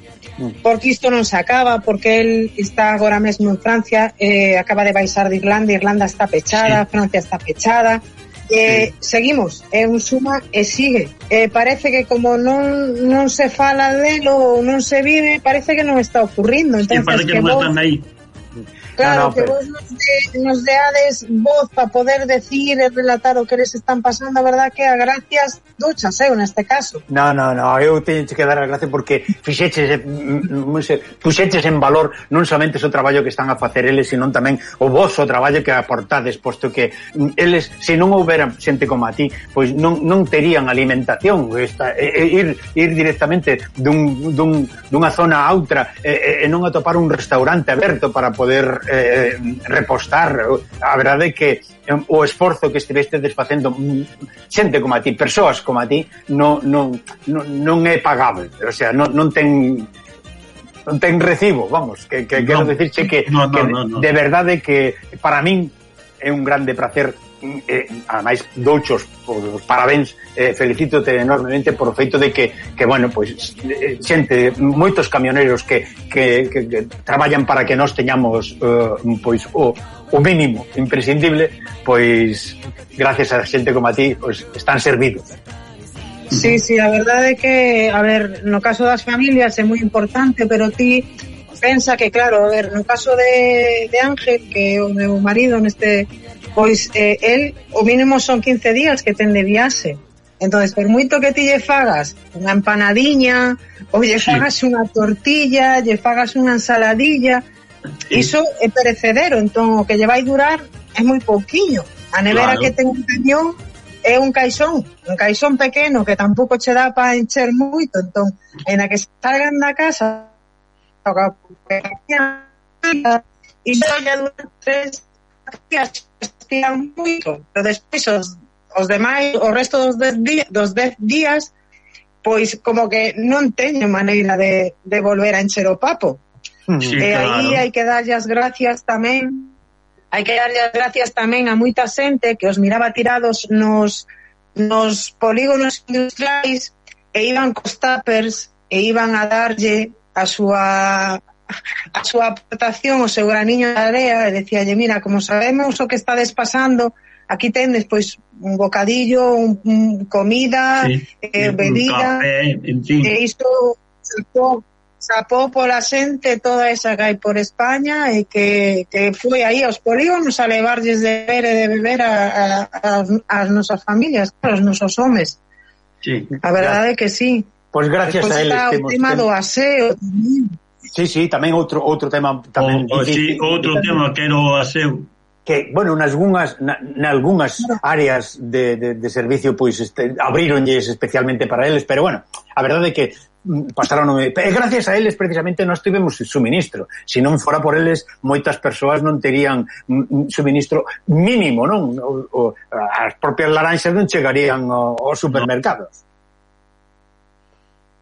porque isto non se acaba, porque el está agora mesmo en Francia, eh, acaba de baixar de Irlanda, Irlanda está pechada, sí. Francia está pechada, Eh, sí. Seguimos, é un suma e sigue. Eh, parece que como non non se fala delo ou non se vive, parece que non está ocurrindo. Entonces, sí, parece que, que non vos, están aí. Claro, no, no, que pero... vos nos, de, nos deades voz para poder decir e relatar o que les están pasando, a verdad que a gracias duchas, eu, neste caso. No, no, no, eu teño que dar a gracia porque fixeches, puxeches en valor non somente o traballo que están a facer eles, sino tamén o vosso traballo que aportades, posto que eles, se non houbera xente como a ti, pois non, non terían alimentación, esta, e, e, ir, ir directamente dun, dun, dunha zona a outra e, e non atopar un restaurante aberto para poder eh, repostar. A verdade é que o esforzo que estivestedes facendo xente como a ti, persoas como a ti, non, non, non, non é pagable, o sea, non, non ten non ten recibo, vamos, que, que no, quero dicirche que, no, no, que no, no. de verdade que para min é un grande placer, eh, ademais douchos os parabéns, eh, felicítote enormemente por o feito de que, que bueno, pois xente, moitos camioneiros que, que, que, que traballan para que nós teñamos uh, pois o, o mínimo imprescindible, pois gracias a xente como a ti, pois están servidos. Sí, sí, a verdade é que, a ver, no caso das familias é moi importante, pero ti pensa que, claro, a ver, no caso de, de Ángel, que é o meu marido neste, pois eh, el, o mínimo son quince días que ten de viaxe. Entonces, por moito que ti lle fagas unha empanadiña, ou lle fagas sí. unha tortilla, lle fagas unha ensaladilla, sí. iso é perecedero, entón o que lle vai durar é moi pouquiño. A nevera claro. que ten un cañón é un caixón, un caixón pequeno que tampouco che dá para encher moito, entón, en a que salgan da casa e só lle dura tres días, estiran moito, pero despois os, os demais, o resto dos dez días, dos dez días, pois como que non teño maneira de, de volver a encher o papo. Sí, e claro. aí hai que darlle as gracias tamén, hai que darlle as gracias tamén a moita xente que os miraba tirados nos, nos polígonos industriais e iban cos tuppers e iban a darlle a súa a súa aportación, o seu graniño de area, e decíalle, mira, como sabemos o que estades pasando, aquí tendes pois un bocadillo, un, un comida, sí, eh, bebida, café, en fin. E isto sapó, sapó pola xente toda esa que hai por España e que, que foi aí aos polígonos a levarlles de beber e de beber a, a, a, as nosas familias, aos nosos homes. Sí, a verdade é que sí. Pois gracias Despois a eles está o tema do aseo tamén. Sí, sí, tamén outro outro tema tamén o, o, sí, outro tema que era o aseo, que, bueno, nalgúnas nalgúnas áreas de, de, de servicio pois este, abríronlles especialmente para eles, pero bueno, a verdade é que pasaron, e gracias a eles precisamente nós tivemos suministro. Se non fora por eles, moitas persoas non terían suministro mínimo, non? O, o, as propias laranxas non chegarían aos supermercados.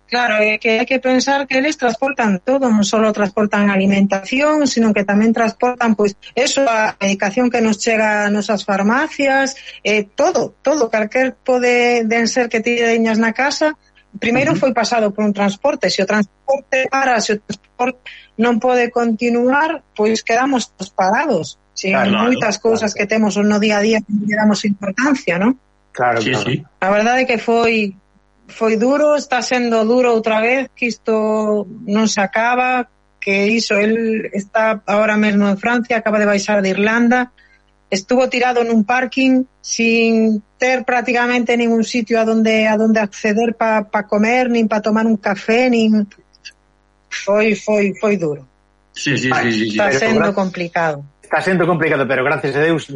Claro, é que hai que pensar que eles transportan todo, non só transportan alimentación, sino que tamén transportan, pois, eso, a medicación que nos chega a nosas farmacias, eh, todo, todo, calquer pode de ser que ti deñas na casa, primeiro uh-huh. foi pasado por un transporte, se o transporte para, se o transporte non pode continuar, pois quedamos parados, si claro, hai moitas claro, cousas claro. que temos no día a día que non damos importancia, non? Claro, sí, claro. Sí. A verdade é que foi foi duro, está sendo duro outra vez, que isto non se acaba, que iso, el está ahora mesmo en Francia, acaba de baixar de Irlanda, estuvo tirado nun parking sin ter prácticamente ningún sitio a donde a donde acceder para pa comer, nin para tomar un café, nin foi foi foi duro. Sí, sí, sí, sí, está sí. sendo complicado. Está sendo complicado, pero gracias a Deus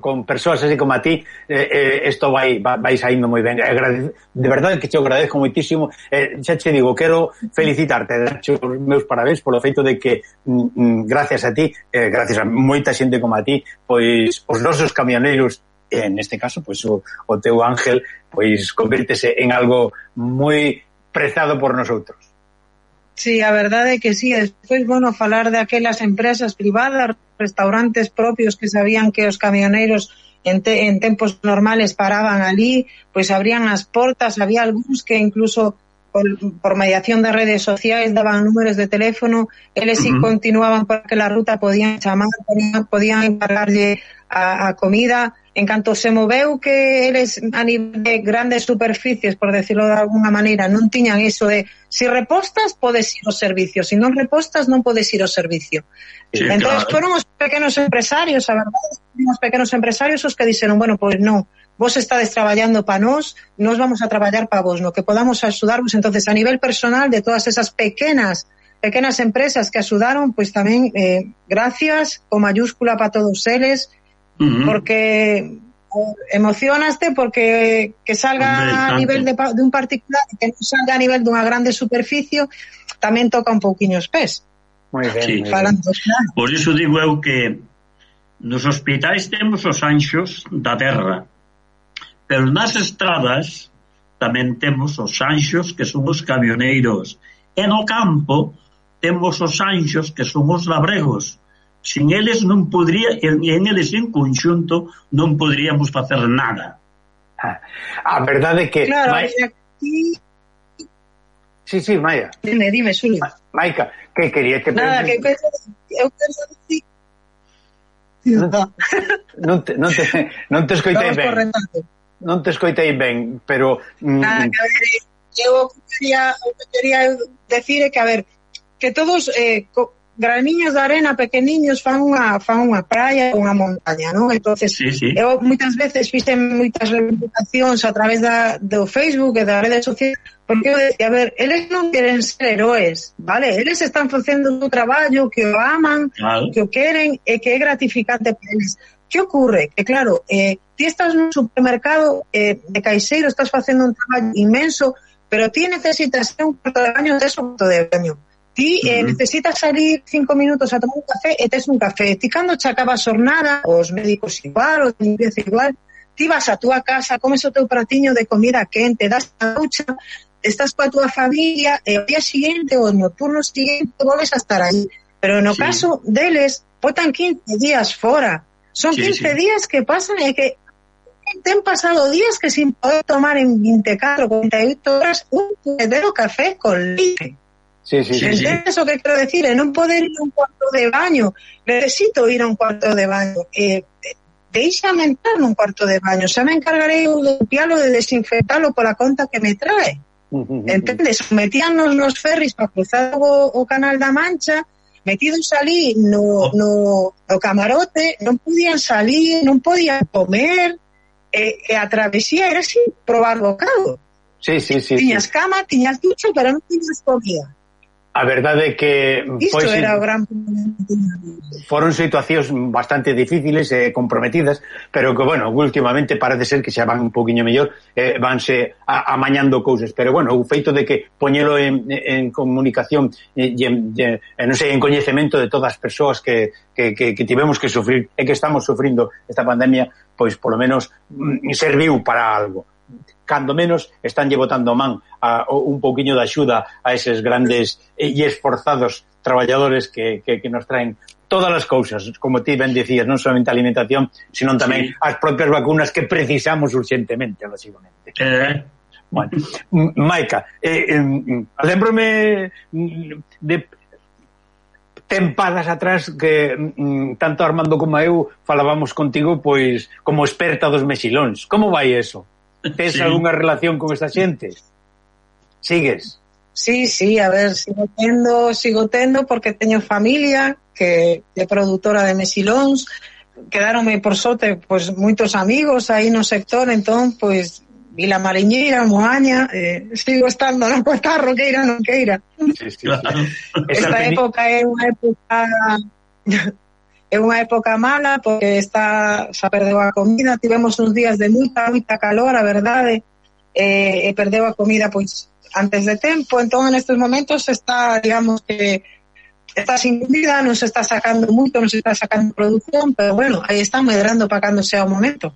con persoas así como a ti eh, eh, esto vai, vai saindo moi ben. De verdade que te agradezco moitísimo. Eh, xa te digo, quero felicitarte, darche os meus parabéns polo feito de que mm, gracias a ti, eh, gracias a moita xente como a ti, pois os nosos camioneiros, en este caso, pois o, o teu Ángel, pois convértese en algo moi prezado por nosotros. Sí, a verdade é que sí. Despois, bueno, falar de aquelas empresas privadas, restaurantes propios que sabían que os camioneiros en, te, en tempos normales paraban ali, pois abrían as portas, había algúns que incluso por, por mediación de redes sociais daban números de teléfono, eles uh-huh. si continuaban por aquela ruta podían chamar, podían, podían encargarlle a, a comida, en canto se moveu que eles a nivel de grandes superficies, por decirlo de alguna maneira, non tiñan iso de si repostas podes ir ao servicio, si non repostas non podes ir ao servicio. Sí, entón claro. Foron os pequenos empresarios, a verdade, os pequenos empresarios os que dixeron, bueno, pois pues non, vos estades traballando para nós, nós vamos a traballar para vos, no que podamos axudarvos. Entonces, a nivel personal de todas esas pequenas pequenas empresas que axudaron, pois pues tamén eh, gracias, con mayúscula para todos eles, uh-huh. porque emocionaste porque que salga a nivel de, de un particular, que non salga a nivel dunha grande superficie, tamén toca un pouquiño os pés. Moi ben, sí. Falando, claro. Por iso digo eu que nos hospitais temos os anxos da terra, pero nas estradas tamén temos os anxos que son os camioneiros, e no campo temos os anxos que son os labregos. Sin eles non podría, en, en eles en conxunto non poderíamos facer nada. Ah, a verdade é que claro, Mai... aquí... Sí, sí, Maia. Dime, dime, Xulio. Maica, que quería que... Nada, que eu penso dicir... Non te, non te, non te escoitei ben. Non te escoitei ben, pero... Nada, que a ver, eu quería, eu quería decir que, a ver, que todos eh, graniños de arena pequeniños fan unha, fan unha praia ou unha montaña, non? Entonces, sí, sí. Eu moitas veces fixen moitas reivindicacións a través da, do Facebook e das redes sociais, porque eu decía, a ver, eles non queren ser heróes, vale? Eles están facendo o traballo que o aman, claro. Que o queren e que é gratificante para eles. Que ocurre? Que claro, eh, ti estás nun supermercado eh, de caixeiro, estás facendo un traballo inmenso, pero ti necesitas un cuarto de baño, tes un cuarto de baño. Ti eh, uh-huh. necesitas salir cinco minutos a tomar un café e tes un café. Ti cando che acaba a xornada, os médicos igual, os de limpieza igual, ti vas a túa casa, comes o teu pratiño de comida quente, das a ducha, estás coa túa familia e o día siguiente ou no turno siguiente volves a estar aí. Pero no sí. caso deles, botan quince días fora. Son sí, quince sí. días que pasan e que ten pasado días que sin poder tomar en veinticuatro, cuarenta y ocho horas un puñetero café con leite. Sí, sí, sí, ¿Entiendes sí. o que quiero decir? En non poder ir a un cuarto de baño. Necesito ir a un cuarto de baño. Eh, Déixame entrar nun cuarto de baño. Xa me encargaré de limpiarlo, de desinfectarlo por la conta que me trae. ¿Entendes? Metíanos nos ferris para cruzar o, o Canal da Mancha, metidos ali no, no, no camarote, non podían salir, non podían comer, e, e a travesía era sin probar bocado. Sí, sí, sí. Tiñas sí. cama, tiñas ducha, pero non tiñas comida. A verdade é que isto pois, era o gran foron situacións bastante difíciles e comprometidas, pero que, bueno, últimamente parece ser que xa van un poquinho mellor, eh, vanse a, amañando cousas, pero, bueno, o feito de que poñelo en, en comunicación e, en, en, non sei, en coñecemento de todas as persoas que, que, que, que tivemos que sufrir e que estamos sufrindo esta pandemia, pois, polo menos, serviu para algo. Cando menos estanlle botando man a, a un pouquiño de axuda a eses grandes e esforzados traballadores que, que, que nos traen todas as cousas, como ti ben dicías, non somente a alimentación, sino tamén sí. as propias vacunas que precisamos urgentemente, lógicamente. Eh. Bueno, Maica, eh, eh, lembrome de tempadas atrás que mm, tanto Armando como eu falábamos contigo pois como experta dos mexilóns. Como vai eso? Tes sí. algunha relación con esta xente? Sigues? Sí, sí, a ver, sigo tendo, sigo tendo porque teño familia que é produtora de mexilóns, quedaronme por sorte pois moitos amigos aí no sector, entón pois Vila Mariñeira, Moaña, eh, sigo estando no Cotarro, queira non queira. Sí, sí, claro. Esta época é unha época é unha época mala porque está xa perdeu a comida, tivemos uns días de moita, moita calor, a verdade, e, e perdeu a comida pois antes de tempo, entón en estes momentos está, digamos que está sin comida, non se está sacando moito, non se está sacando produción, pero bueno, aí está medrando para cando sea o momento.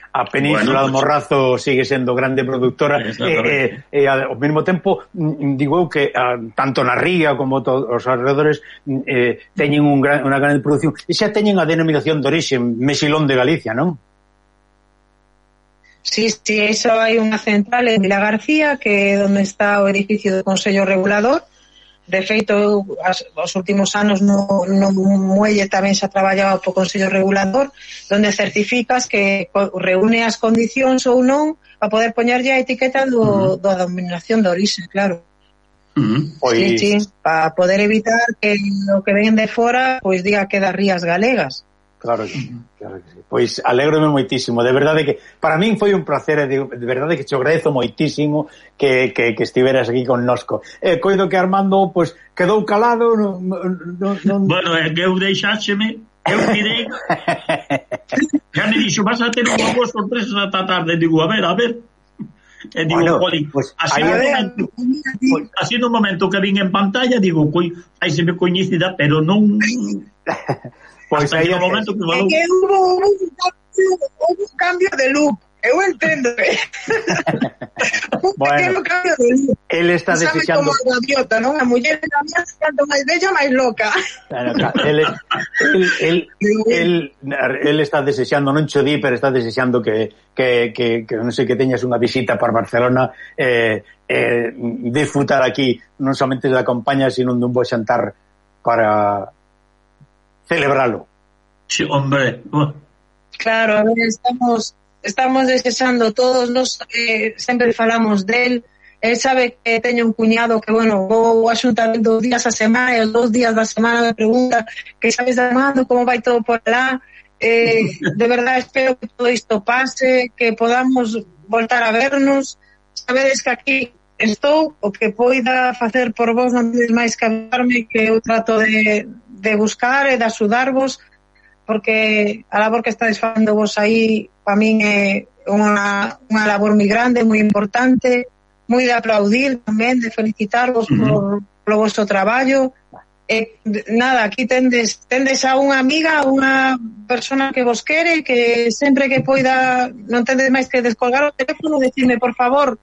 A Península bueno, do Morrazo sigue sendo grande productora e eh, eh, eh, ao mesmo tempo digo eu que a, tanto na ría como to, os alrededores eh, teñen un gran, unha grande producción e xa teñen a denominación de orixe Mexilón de Galicia, non? Sí, sí, iso hai unha central en Vila García que é onde está o edificio do Consello Regulador de feito eu as, os últimos anos no, no muelle tamén xa traballaba po Consello Regulador, donde certificas que reúne as condicións ou non para poder poñerlle a etiqueta do, uh-huh. da denominación de orixe, claro. Uh-huh. Sí, sí, para poder evitar que o que ven de fora pois diga que das rías galegas. Claro que sí, claro que sí. Pois alégrome moitísimo, de verdade que para min foi un placer, de, de verdade que te agradezo moitísimo que, que, que estiveras aquí connosco. Eh, coido que Armando pois quedou calado, no, no, no... Bueno, é que eu deixáxeme, eu tirei já me dixo, vas a ter unha boa sorpresa esta tarde, digo, a ver, a ver e digo, bueno, Poli, pues, así, no momento, pues, así no momento que vin en pantalla digo, coi, aí se me coñecida, pero non pois hasta aí o momento que valou. É que hubo un, hubo un cambio de look, eu entendo. Un bueno, pequeno cambio de look. Él está Sabe desexando... como a gaviota, non? A muller da mía tanto máis bella, máis loca. Claro, claro. Él, él, él, él, él está desexando, non cho di, pero está desexando que, que, que, que non sei, que teñas unha visita para Barcelona, eh, eh, disfrutar aquí non somente da compañía, sino dun bo xantar para celebralo. Sí, hombre. Claro, a ver, estamos estamos desexando todos, nos eh, sempre falamos del. Él sabe que teño un cuñado que, bueno, vou a xuntar dos días a semana e os dos días da semana me pregunta que sabes de Armando, como vai todo por lá. Eh, de verdade espero que todo isto pase, que podamos voltar a vernos. Sabedes que aquí estou, o que poida facer por vos non tedes máis que avisarme, que eu trato de, de buscar e de axudarvos, porque a labor que estades facendo vos aí para min é unha, unha labor moi grande, moi importante, moi de aplaudir tamén, de felicitarvos uh-huh. por, por o vosso traballo. E, nada, aquí tendes, tendes a unha amiga, unha persona que vos quere, que sempre que poida, non tendes máis que descolgar o teléfono, decirme, por favor,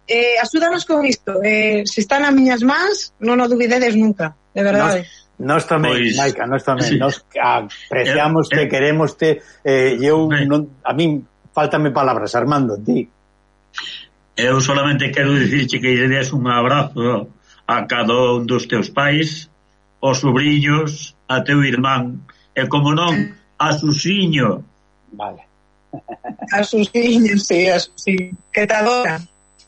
eh, axúdanos con isto, eh, se están as miñas mans, non o dubidedes nunca, de verdade. Nos... Nós tamén, pues, Maica, nós tamén, sí. Nós apreciamos te, eh, queremos te, eh, eu eh, non, a min faltame palabras, Armando, ti. Eu solamente quero dicirche que lle des un abrazo a cada un dos teus pais, aos sobrinhos, a teu irmán, e como non, a Susiño. Vale. A Susiño, sí, a Susiño, que te adora.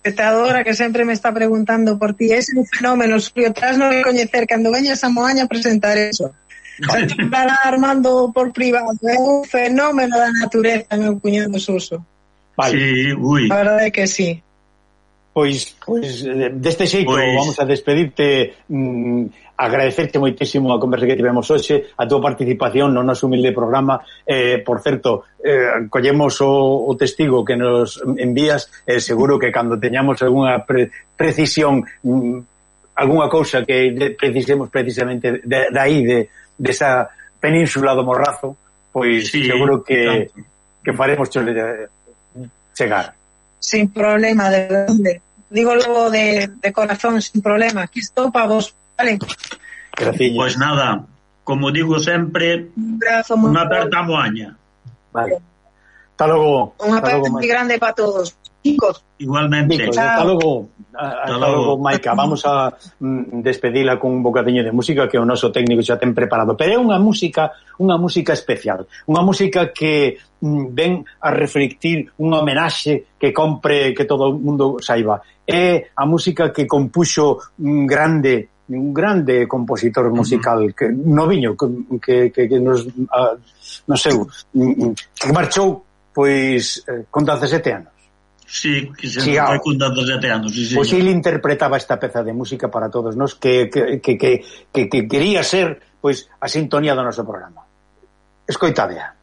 Que te adora, que sempre me está preguntando por ti. Es un fenómeno, Xulio, tras non coñecer, cando veñas a Moaña a presentar eso. Vale. Se hablará Armando por privado, é un fenómeno da natureza, meu cuñado Suso. Vale. Sí, ui. A verdade é que sí. Pois, pois deste xeito pois... vamos a despedirte, mm, agradecerte moitísimo a conversa que tivemos hoxe, a túa participación no noso humilde programa. Eh, por certo, eh, collemos o, o testigo que nos envías, eh, seguro que cando teñamos algunha pre, precisión, mm, algunha cousa que de, precisemos precisamente de, de aí, de, de esa península do Morrazo, pois sí, seguro que, que faremos chegar. Sin problema, de verdade. Digo logo de, de corazón, sin problema. Aquí estou para vos, vale? Graciña. Pois nada, como digo sempre, un abrazo unha aperta moaña. Vale. Hasta logo. Unha aperta moi grande para todos. Chicos. Igualmente. Chicos, hasta logo. Hasta, hasta logo, Maica. Vamos a mm, despedila con un bocadiño de música que o noso técnico xa ten preparado. Pero é unha música, unha música especial. Unha música que mm, ven a reflectir unha homenaxe que compre, que todo o mundo saiba. É a música que compuxo un grande un grande compositor musical, uh-huh. que noviño, que, que, que nos, a, no seu, que marchou pois eh, con dezasete anos. Sí, que se sí, foi con dezasete anos. Sí, pois ele interpretaba esta peza de música para todos nós que, que, que, que, que, que quería ser pois a sintonía do noso programa. Escoitadea.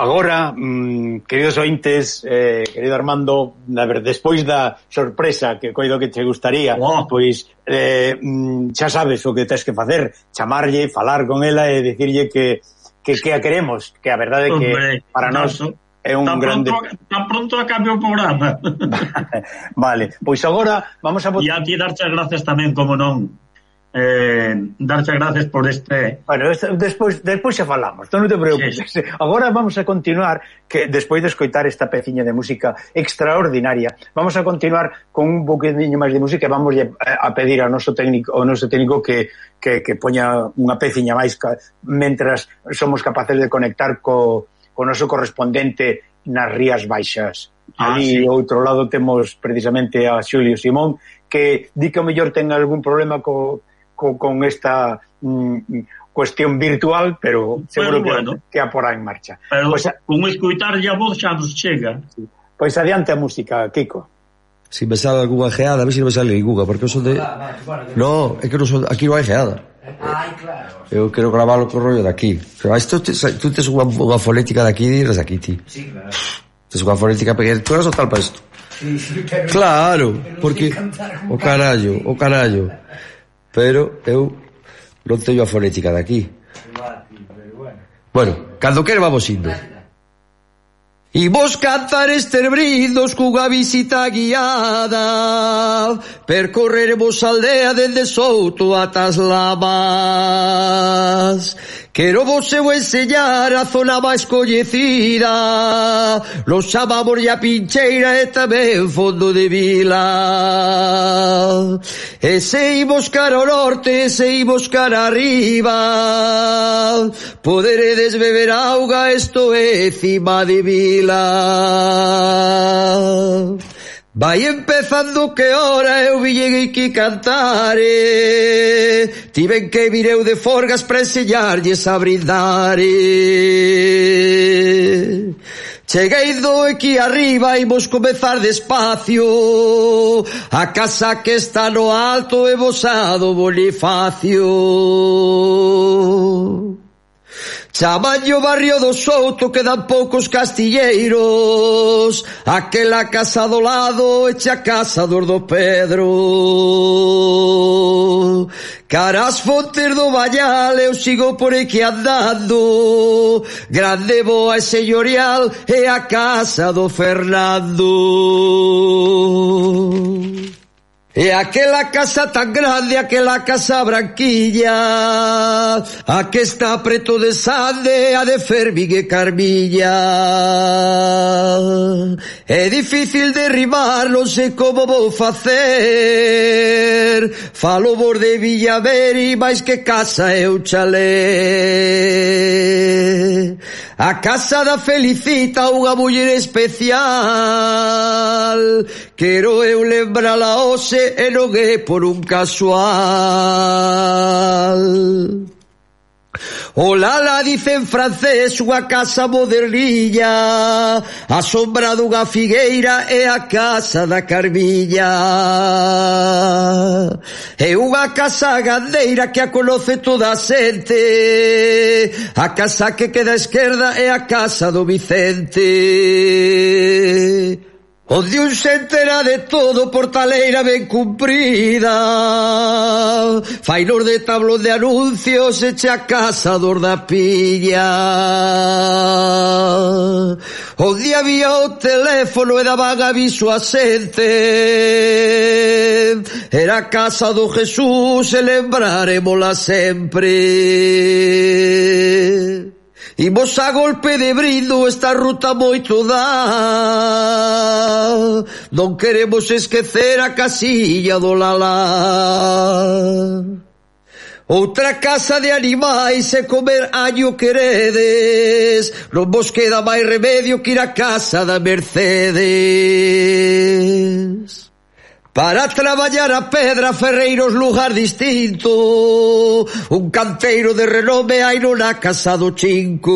agora, mm, queridos ointes, eh, querido Armando, a ver, despois da sorpresa que coido que te gustaría, oh. pois eh, mm, xa sabes o que tens que facer, chamarlle, falar con ela e dicirlle que, que, que a queremos, que a verdade é que Hombre, para nós é un tan grande... Pronto, tan pronto a cambio o programa. Vale, pois agora vamos a... E a ti darche gracias tamén, como non. Eh, darche gracias por este... Bueno, este, despois, despois xa falamos, non te preocupes. Sí, sí. Agora vamos a continuar, que despois de escoitar esta peciña de música extraordinaria, vamos a continuar con un poquinho máis de música e vamos a pedir ao noso técnico, ao noso técnico que, que, que poña unha peciña máis mentras somos capaces de conectar co, co noso correspondente nas Rías Baixas. Ah, Ali, sí. Ao outro lado, temos precisamente a Xulio Simón, que di que o mellor ten algún problema co Co, con esta mm, cuestión virtual, pero seguro pero bueno, que, que a porá en marcha. Pero pues, con escoitar a voz xa nos chega. Sí. Pois pues adiante a música, Kiko. Si me sale alguna geada, a ver se si non me sale ninguna, porque eu son de... No, é que non son... aquí non hai geada. Ai, claro. Eu quero gravarlo co rollo de aquí. Pero isto, tú tes unha, unha fonética de aquí e eres de aquí, ti. Sí, claro. Tes unha fonética pequena, tú eres o tal para isto. Sí, sí, pero... Claro, pero porque... O carallo, o carallo. Pero eu non teño a fonética de aquí. Bueno, cando quere vamos indo. Imos cantar esterbridos cunha visita guiada, percorreremos a aldea dende Souto ata as Lamas. Quero vos eu enseñar a zona máis coñecida, los chamamos a Pincheira e tamén Fondo de Vila. E se imos cara ao norte, se imos cara arriba, poderedes beber auga, esto é cima de Vila. Vai empezando que hora eu ville que cantare, tiven que vir eu de Forgas para enseñarlles a brindare. Cheguei do aquí arriba e vos comezar despacio, a casa que está no alto é Bosado Bonifacio. Chamaño barrio do Souto, quedan poucos castilleiros, aquela casa do lado eche a casa dos do Pedro. Cara as fontes do Bañal eu sigo por aquí andando, grande boa e señorial é a casa do Fernando. E aquela casa tan grande, aquela casa branquilla, a que está preto de Sande, a de Fermín e Carmilla. É difícil derribar, non sei como vou facer, falo vos de Villaveri, máis que casa é un chalé. A casa da Felicita, unha muller especial, quero eu lembrala hoxe e non é por un casual. O Lala dice en francés, unha casa modernilla, a sombra dunha figueira é a casa da Carmilla. É unha casa gandeira que a conoce toda a xente, a casa que queda a esquerda é a casa do Vicente. Onde un se entera de todo, portaleira ben cumprida, fainos de tablón de anuncios, eche a casa dos da Pilla. Onde había o teléfono e daban aviso a xente, era a casa do Jesús e lembrarémola sempre. Imos a golpe de brindo, esta ruta moito dá, non queremos esquecer a casilla do Lalá. Outra casa de animais e comer año queredes, non vos queda máis remedio que ir a casa da Mercedes. Para traballar a pedra, ferreiros lugar distinto, un canteiro de renome hai na casa do Chinco.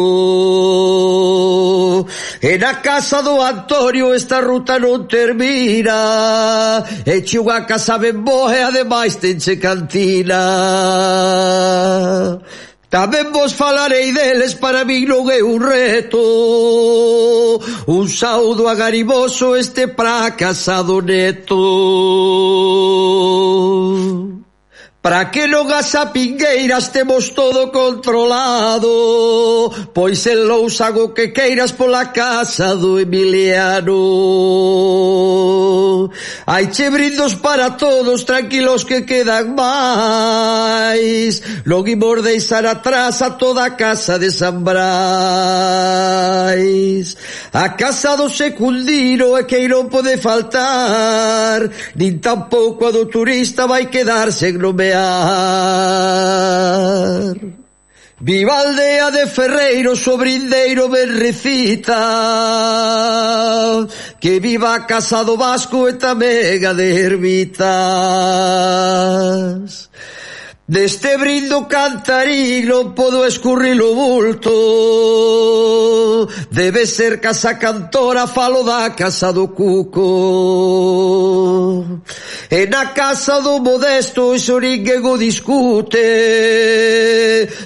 E na casa do Antonio esta ruta non termina, eche unha casa ben boa e ademais tenche cantina. Tamén vos falarei deles, para mí non é un reto. Un saudo agariboso este fracasado neto. Para que non as apingueiras temos todo controlado, pois en Lousa o que queiras pola casa do Emiliano. Hai che brindos para todos, tranquilos que quedan máis. Non imos deixar atrás a toda a casa de San Brais. A casa do secundino é que non pode faltar, nin tampouco a do turista vai quedar sen nomear. Viva a aldea de Ferreiros, o brindeiro ben recita, que viva a casa do Vasco e tamén a de Hermitas. Deste brindo cantarín non podo escurrir o bulto, debe ser casa cantora, falo da casa do Cuco. E na casa do Modesto iso ninguén o discute,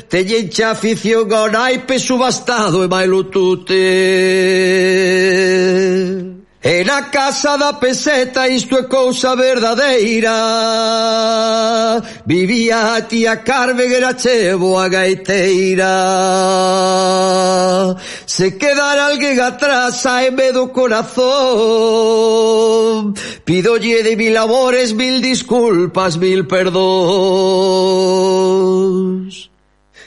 teñen xa afición ao naipe subastado e mailo tute. E na casa da Peseta isto é cousa verdadeira, vivía a tía Carmen, era chevo a gaiteira. Se quedara alguén atrás, saeme do corazón, pidolle de mil amores, mil disculpas, mil perdóns.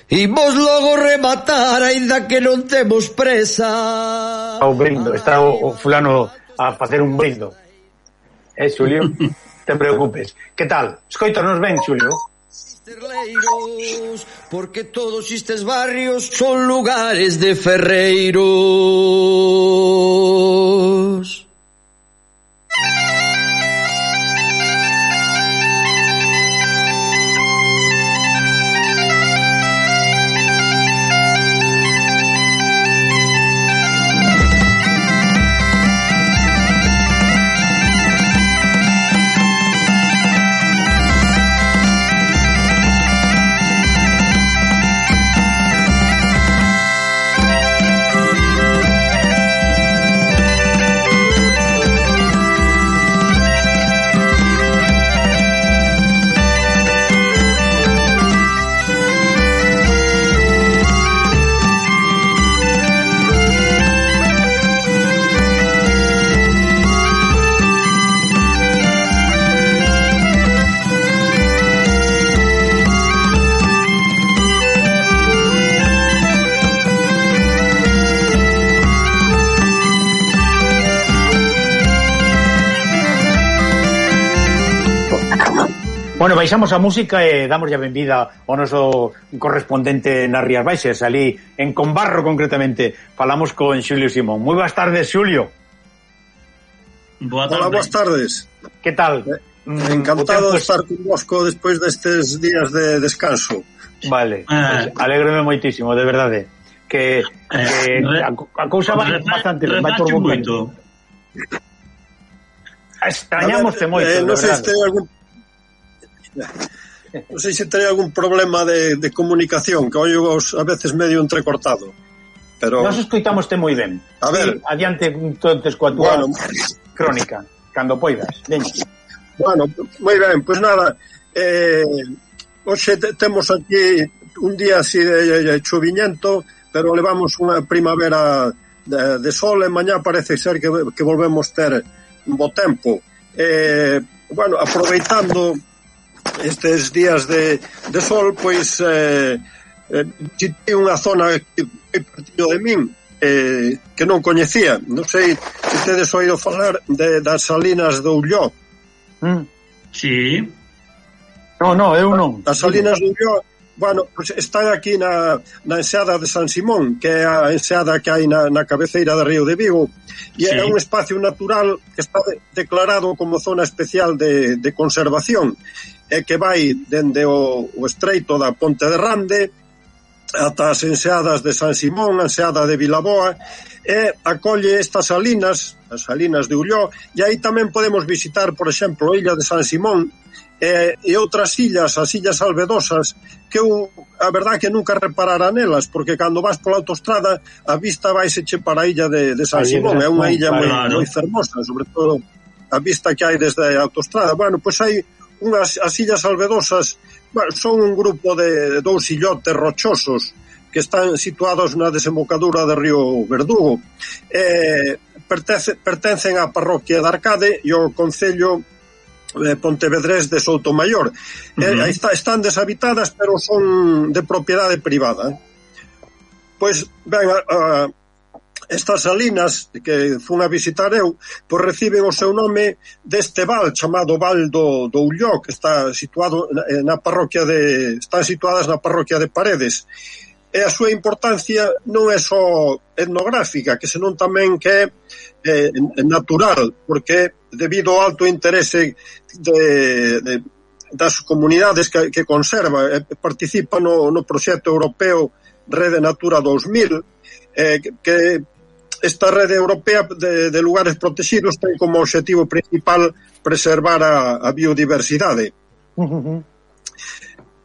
Imos logo rematar, aínda que non temos presa. O brindo, está o, o fulano a facer un brindo. Eh, Xulio? Te preocupes. Que tal? Escoítanos ben, Xulio? Porque todos estes barrios son lugares de ferreiros. Bueno, baixamos a música e damos a benvida ao noso correspondente nas Rías Baixas, ali en Combarro concretamente. Falamos con Xulio Simón. Moi boas tardes, Xulio. Boa tarde. Hola, boas tardes. Que tal? Eh, encantado de estar convosco despois destes días de descanso. Vale, eh, pues, alégrome moitísimo, de verdade. Que, que eh, a, a cousa vai bastante, vai por bo camino. Extrañamoste moito, eh, de non sei verdade. se ten algún non sei se ten algún problema de, de comunicación, que oio a veces medio entrecortado, pero nos escoitamoste moi ben. A ver, sí, adiante entonces coa túa bueno, crónica, cando poidas. Veña. Bueno, moi ben, pois pues nada, eh, hoxe te, temos aquí un día así de, de choviñento, pero levamos unha primavera de, de sol, e mañá parece ser que, que volvemos ter un bo tempo. Eh, bueno, aproveitando estes días de, de sol, pois eh, eh, visitei unha zona que é pertinho de min, eh, que non coñecía. Non sei se tedes oído falar de, das Salinas do Ulló. Mm. Sí. No, no, eu non. As Salinas do Ulló, bueno, pues están aquí na, na enseada de San Simón, que é a enseada que hai na, na cabeceira do Río de Vigo, e sí, é un espacio natural que está de, declarado como zona especial de, de conservación, e que vai dende o, o estreito da Ponte de Rande ata as enseadas de San Simón, a enseada de Vilaboa, e acolle estas salinas, as salinas de Ulló, e aí tamén podemos visitar, por exemplo, a illa de San Simón, e, e outras illas, as illas albedosas, que eu, a verdade que nunca reparara nelas, porque cando vas pola autostrada, a vista vaiseche para a illa de, de San Simón, é unha illa moi, claro. moi fermosa, sobre todo a vista que hai desde a autostrada. Bueno, pois hai unhas as illas albedosas, bueno, son un grupo de dous illotes rochosos que están situados na desembocadura do río Verdugo. Eh, pertence, pertencen á parroquia de Arcade e ao concello eh, Pontevedrés de Soutomaior. Uh-huh. Eh, está, están deshabitadas, pero son de propiedade privada. Pois, ben, a, a, estas salinas que fun a visitar eu, pois reciben o seu nome deste val chamado Val do, do Ulló, que está situado na, na parroquia de están situadas na parroquia de Paredes. E a súa importancia non é só etnográfica, que senón tamén que é eh, natural, porque debido ao alto interese de, de, das comunidades que, que conserva e participa no, no proxecto europeo Rede Natura dos mil, eh, que esta rede europea de, de lugares protegidos ten como objetivo principal preservar a, a biodiversidade. Uh-huh.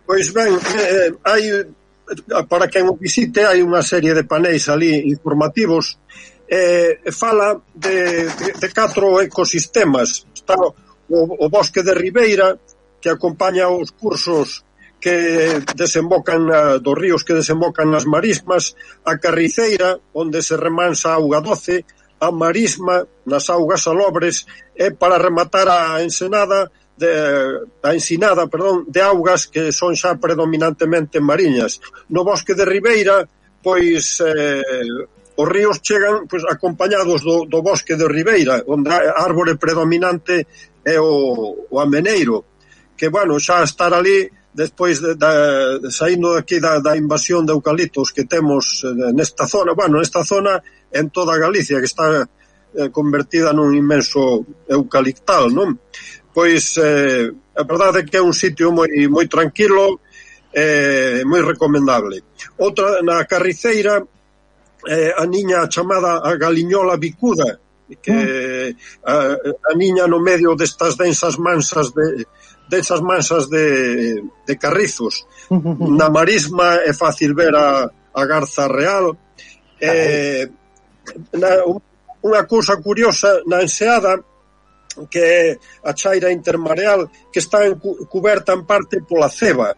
Pois ben, eh, hai para quen o visite hai unha serie de paneis ali informativos, eh, fala de, de, de catro ecosistemas. Está o, o bosque de Ribeira, que acompaña os cursos que desembocan na, dos ríos que desembocan nas marismas, a Carriceira, onde se remansa a auga doce, a marisma nas augas salobres, e para rematar a ensenada de, a ensinada, perdón, de augas que son xa predominantemente mariñas. No bosque de Ribeira, pois eh, os ríos chegan pois acompañados do, do bosque de Ribeira, onde a árbore predominante é o, o ameneiro, que, bueno, xa estar ali despois de, de, de saindo aquí da, da invasión de eucaliptos que temos eh, nesta zona, bueno, nesta zona en toda Galicia, que está eh, convertida nun inmenso eucaliptal, non? Pois eh, a verdade é que é un sitio moi, moi tranquilo, eh, moi recomendable. Outra, na Carriceira, eh, a niña chamada a galiñola bicuda, que a, a niña no medio destas densas mansas de densas mansas de, de carrizos. Na marisma é fácil ver a, a garza real. Eh, na, unha cousa curiosa na enseada, que é a chaira intermareal, que está en, cuberta en parte pola ceba.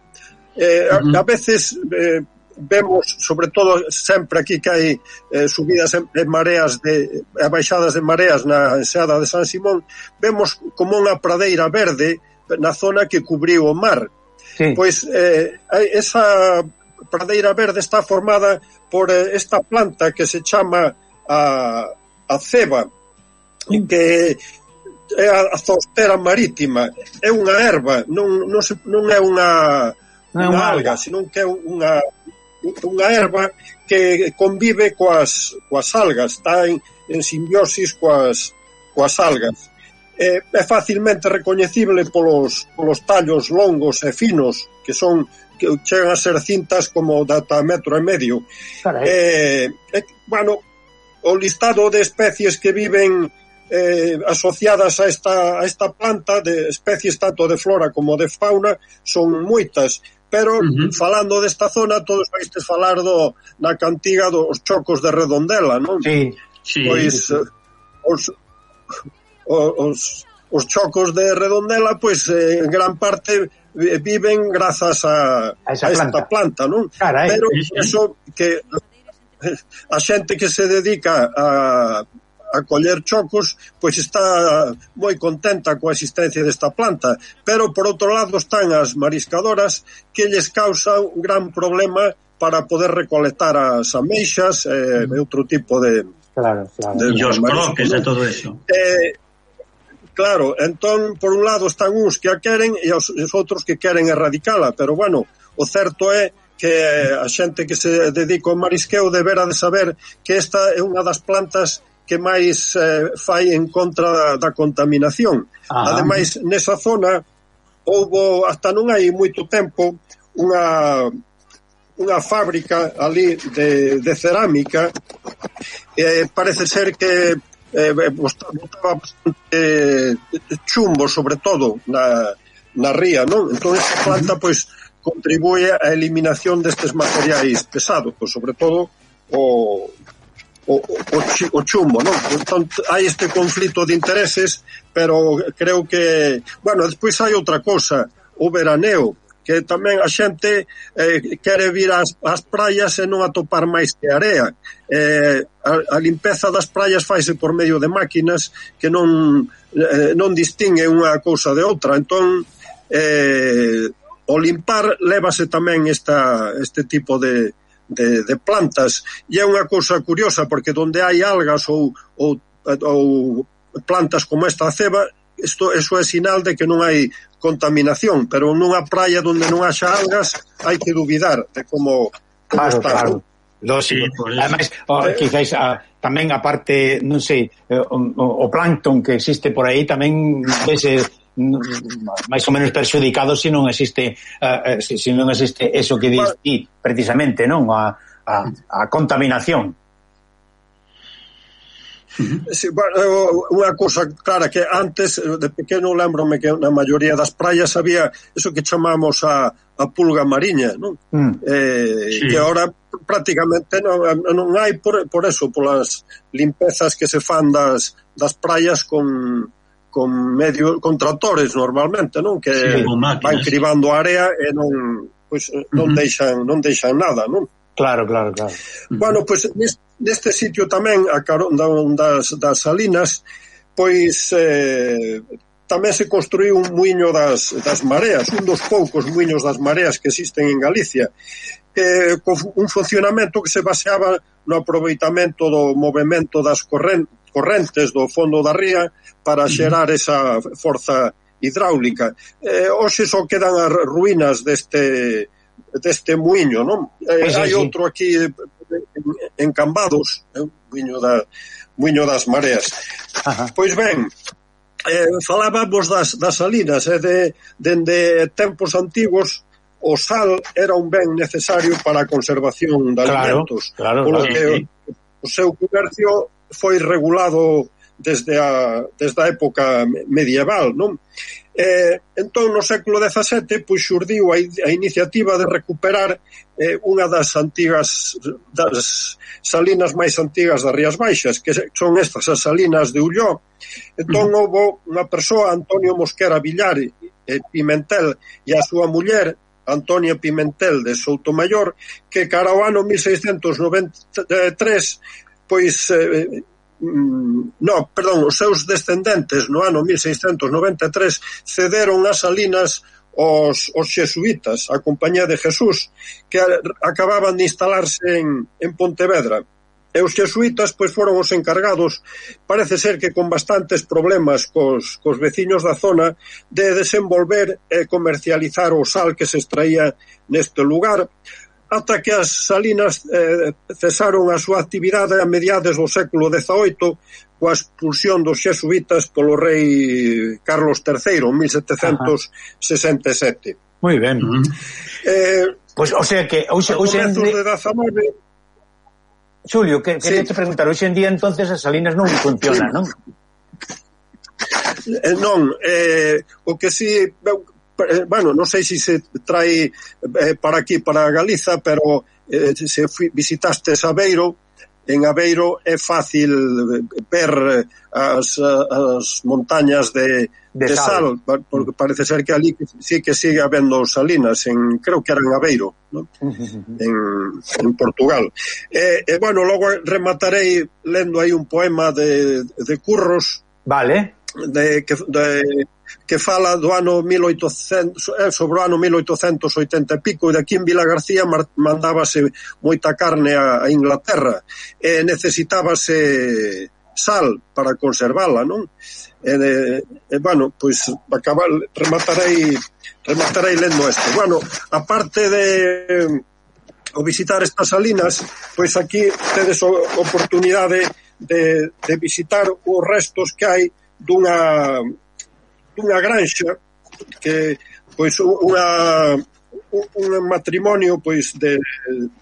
Eh, a, a veces eh, vemos, sobre todo sempre aquí que hai eh, subidas en, en mareas de, e baixadas de mareas na enseada de San Simón, vemos como unha pradeira verde na zona que cubriu o mar. Sí. Pois eh, esa pradeira verde está formada por eh, esta planta que se chama a, a ceba, mm. que é a zoostera marítima. É unha erva, non, non, se, non é unha, non unha alga, senón que é unha, unha erva que convive coas, coas algas, está en, en simbiosis coas, coas algas. É, é facilmente recoñecible polos, polos tallos longos e finos, que son que chegan a ser cintas como de ata metro e medio. Eh, eh, bueno, o listado de especies que viven eh, asociadas a esta, a esta planta, de especies tanto de flora como de fauna, son moitas, pero uh-huh. falando desta zona, todos vais falar do, na cantiga dos chocos de Redondela, non? Sí, sí. Pois os, os, os chocos de Redondela, pois en gran parte viven grazas a, a, esa a esta planta, non? Carai, pero sí, sí. Eso que a xente que se dedica a a coller chocos, pois está moi contenta coa existencia desta planta, pero por outro lado están as mariscadoras que lles causa un gran problema para poder recolectar as ameixas e eh, outro tipo de claro, claro. De, e os croques e todo eso. Eh, claro, entón por un lado están uns que a queren e os, os outros que queren erradicala, pero bueno, o certo é que a xente que se dedica ao marisqueo debera de saber que esta é unha das plantas que máis eh, fai en contra da, da contaminación. Ah. Ademais, nesa zona houbo, hasta non hai moito tempo, unha unha fábrica ali de, de cerámica, e parece ser que eh, botaba bastante chumbo, sobre todo na, na ría, non? Entón esta planta pois contribúe á eliminación destes materiais pesados, pois, sobre todo o O, o, o chumbo, non? Entón, hai este conflito de intereses, pero creo que, bueno, despois hai outra cosa, o veraneo, que tamén a xente eh, quere vir ás, ás praias e non atopar máis que area. Eh, a, a limpeza das praias faise por medio de máquinas que non, eh, non distingue unha cousa de outra. Entón, eh, o limpar lévase tamén esta, este tipo de De, de plantas, e é unha cousa curiosa porque onde hai algas ou, ou, ou plantas como esta ceba, isto, eso é sinal de que non hai contaminación, pero nunha praia onde non haxa algas hai que duvidar de como, como claro, está. Claro. Lógico. Sí, además, oh, eh, quizás ah, tamén a parte, non sei, eh, o, o plancton que existe por aí tamén vese máis ou menos perxudicado se non existe uh, se, se non existe eso que dis ti, precisamente, non? A, a, a contaminación. Sí, bueno, unha cousa clara que antes de pequeno lembrome que na maioría das praias había eso que chamamos a, a pulga mariña, non? Mm. Eh, sí. Que ahora prácticamente non, non hai por, por eso, polas limpezas que se fan das, das praias con con medio con tractores normalmente, non? Que sí, van cribando a area e non pois non uh-huh. deixan non deixan nada, non? Claro, claro, claro. Uh-huh. Bueno, pois neste, neste sitio tamén a carón das das salinas, pois eh, tamén se construiu un muiño das das mareas, un dos poucos muiños das mareas que existen en Galicia. Eh, con un funcionamento que se baseaba no aproveitamento do movemento das correntes correntes do fondo da ría para xerar esa forza hidráulica. Eh, hoxe só quedan as ruínas deste deste muiño, non? Eh, pues sí, hai sí. outro aquí en, en Cambados, eh, muiño, da, muiño das mareas. Ajá. Pois ben, eh, falábamos das, das salinas, eh, de, dende tempos antigos o sal era un ben necesario para a conservación de alimentos. Claro, polo claro, que sí. o, o seu comercio foi regulado desde a, desde a época medieval, non? Eh, entón, no século dezasete, pois xurdiu a, a iniciativa de recuperar eh, unha das antigas das salinas máis antigas das Rías Baixas, que son estas as salinas de Ulló. Entón, uh-huh. houve unha persoa, Antonio Mosquera Villar e Pimentel, e a súa muller, Antonia Pimentel de Soutomayor, que cara ao ano mil seiscentos noventa e tres pois eh, no, perdón, os seus descendentes no ano mil seiscentos noventa e tres cederon as salinas os, os xesuítas, a Compañía de Jesús, que acababan de instalarse en, en Pontevedra. E os xesuítas pois foron os encargados, parece ser que con bastantes problemas cos, cos veciños da zona, de desenvolver e comercializar o sal que se extraía neste lugar, ata que as salinas eh, cesaron a súa actividade a mediados do século dezaoito coa expulsión dos xesuítas polo rei Carlos terceiro en mil setecentos sesenta e sete. Moi ben. Uh-huh. Eh, pois, o sea que hoxe hoxe en de dezanove Xulio, que quería sí. te preguntar, hoxe en día entonces as salinas non funcionan, non? Eh, non, eh, o que si bueno, non sei se se trae eh, para aquí, para Galiza, pero eh, se fui, visitaste Aveiro, en Aveiro é fácil ver as, as montañas de, de, de sal, sal, porque parece ser que ali sí que sigue habendo salinas, en, creo que era en Aveiro, ¿no? en, en Portugal. E, eh, eh, bueno, logo rematarei lendo aí un poema de, de Curros, vale, de, que, de que fala do ano mil oitocentos, eh, sobre o ano mil oitocentos oitenta e pico, e de aquí en Vila García mandábase moita carne a, a Inglaterra e necesitábase sal para conservala, non? E, e bueno, pois acabar, rematarei rematarei lendo isto. Bueno, aparte de o visitar estas salinas, pois aquí tedes a oportunidade de, de visitar os restos que hai dunha dunha granxa que pois unha un, un matrimonio pois de,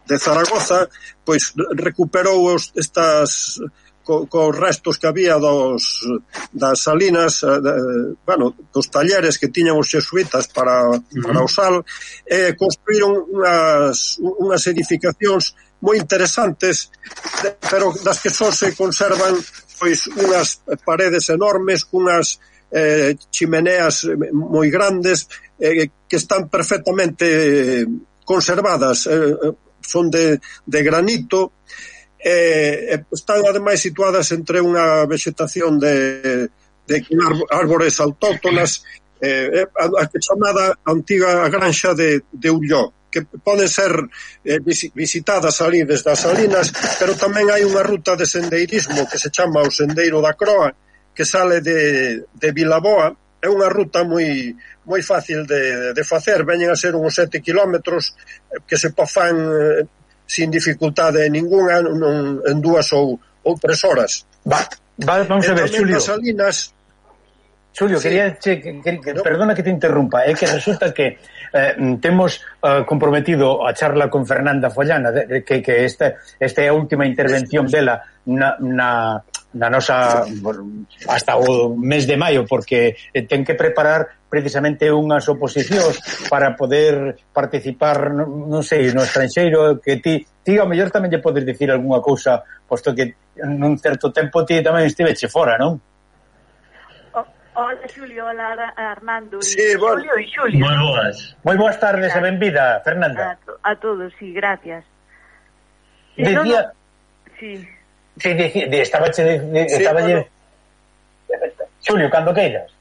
de Zaragoza pois recuperou os, estas co, cos restos que había dos das salinas, de, bueno, dos talleres que tiñan os xesuitas para, uh-huh. para o sal, e construíron unhas, unhas edificacións moi interesantes, pero das que só se conservan pois unhas paredes enormes, cunhas eh, chimeneas moi grandes, eh, que están perfectamente conservadas, eh, son de, de granito, eh, están ademais situadas entre unha vegetación de, de árbores autóctonas, eh, a, a chamada antiga granxa de, de Ulló, que poden ser eh, visitadas ali desde as salinas, pero tamén hai unha ruta de sendeirismo que se chama o Sendeiro da Croa, que sale de, de Vilaboa. É unha ruta moi moi fácil de, de facer, veñen a ser uns sete kilómetros que se fan eh, sin dificultade ninguna, non, en dúas ou, ou tres horas. Va, va, vamos a ver, Xulio. Salinas, Xulio, sí. quería che, que, que, no. perdona que te interrumpa, é que resulta que eh, temos eh, comprometido a charla con Fernanda Follana, de, de, que, que esta, esta é a última intervención dela na, na, na nosa hasta o mes de maio, porque ten que preparar precisamente unhas oposicións para poder participar, non, non sei, no estranxeiro, que ti, ti ao mellor tamén lle podes dicir algunha cousa, posto que nun certo tempo ti tamén estiveche fora, non? Hola, Xulio, hola, Armando. Sí, bueno. Xulio e Xulio. Moi boas. Moi boas tardes e benvida, Fernanda. A, to, a todos, sí, gracias. Decía... No, no. Sí. Sí, de, de, estaba che... De, de, sí, estaba bueno. lle... Xulio, cando queiras.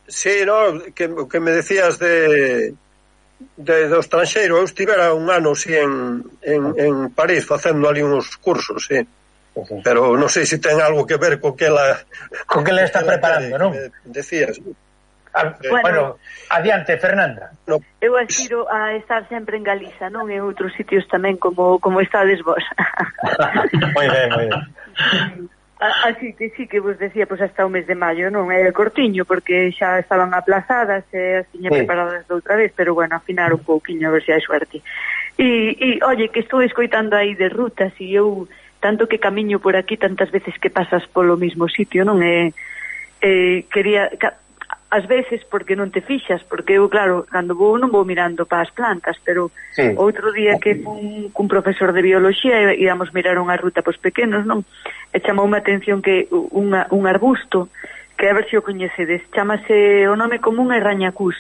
Sí, no, que, que me decías de... de do estranxeiro. Eu estivera un ano, sí, en, en, en París facendo ali uns cursos, sí. Pero non sei se ten algo que ver co que ela co que ela está preparando, non? Decías. Ah, bueno, bueno, adiante, Fernanda. No. Eu aspiro a estar sempre en Galiza, non en outros sitios tamén como como estades vos. Moi ben, moi ben. Así que sí que vos decía, pois pues, hasta o mes de maio, non é cortiño, porque xa estaban aplazadas e as tiña sí. preparadas de outra vez, pero bueno, afinar un pouquiño a ver se hai suerte. E, e oye, que estou escoitando aí de rutas e eu tanto que camiño por aquí tantas veces que pasas polo mismo sitio, non é eh, quería ca, ás veces porque non te fixas, porque eu claro, cando vou non vou mirando para as plantas, pero sí. outro día que fun cun profesor de bioloxía e íamos mirar unha ruta pos pequenos, non? E chamou unha atención que unha, un arbusto que a ver se o coñecedes, chamase, o nome común é rañacús.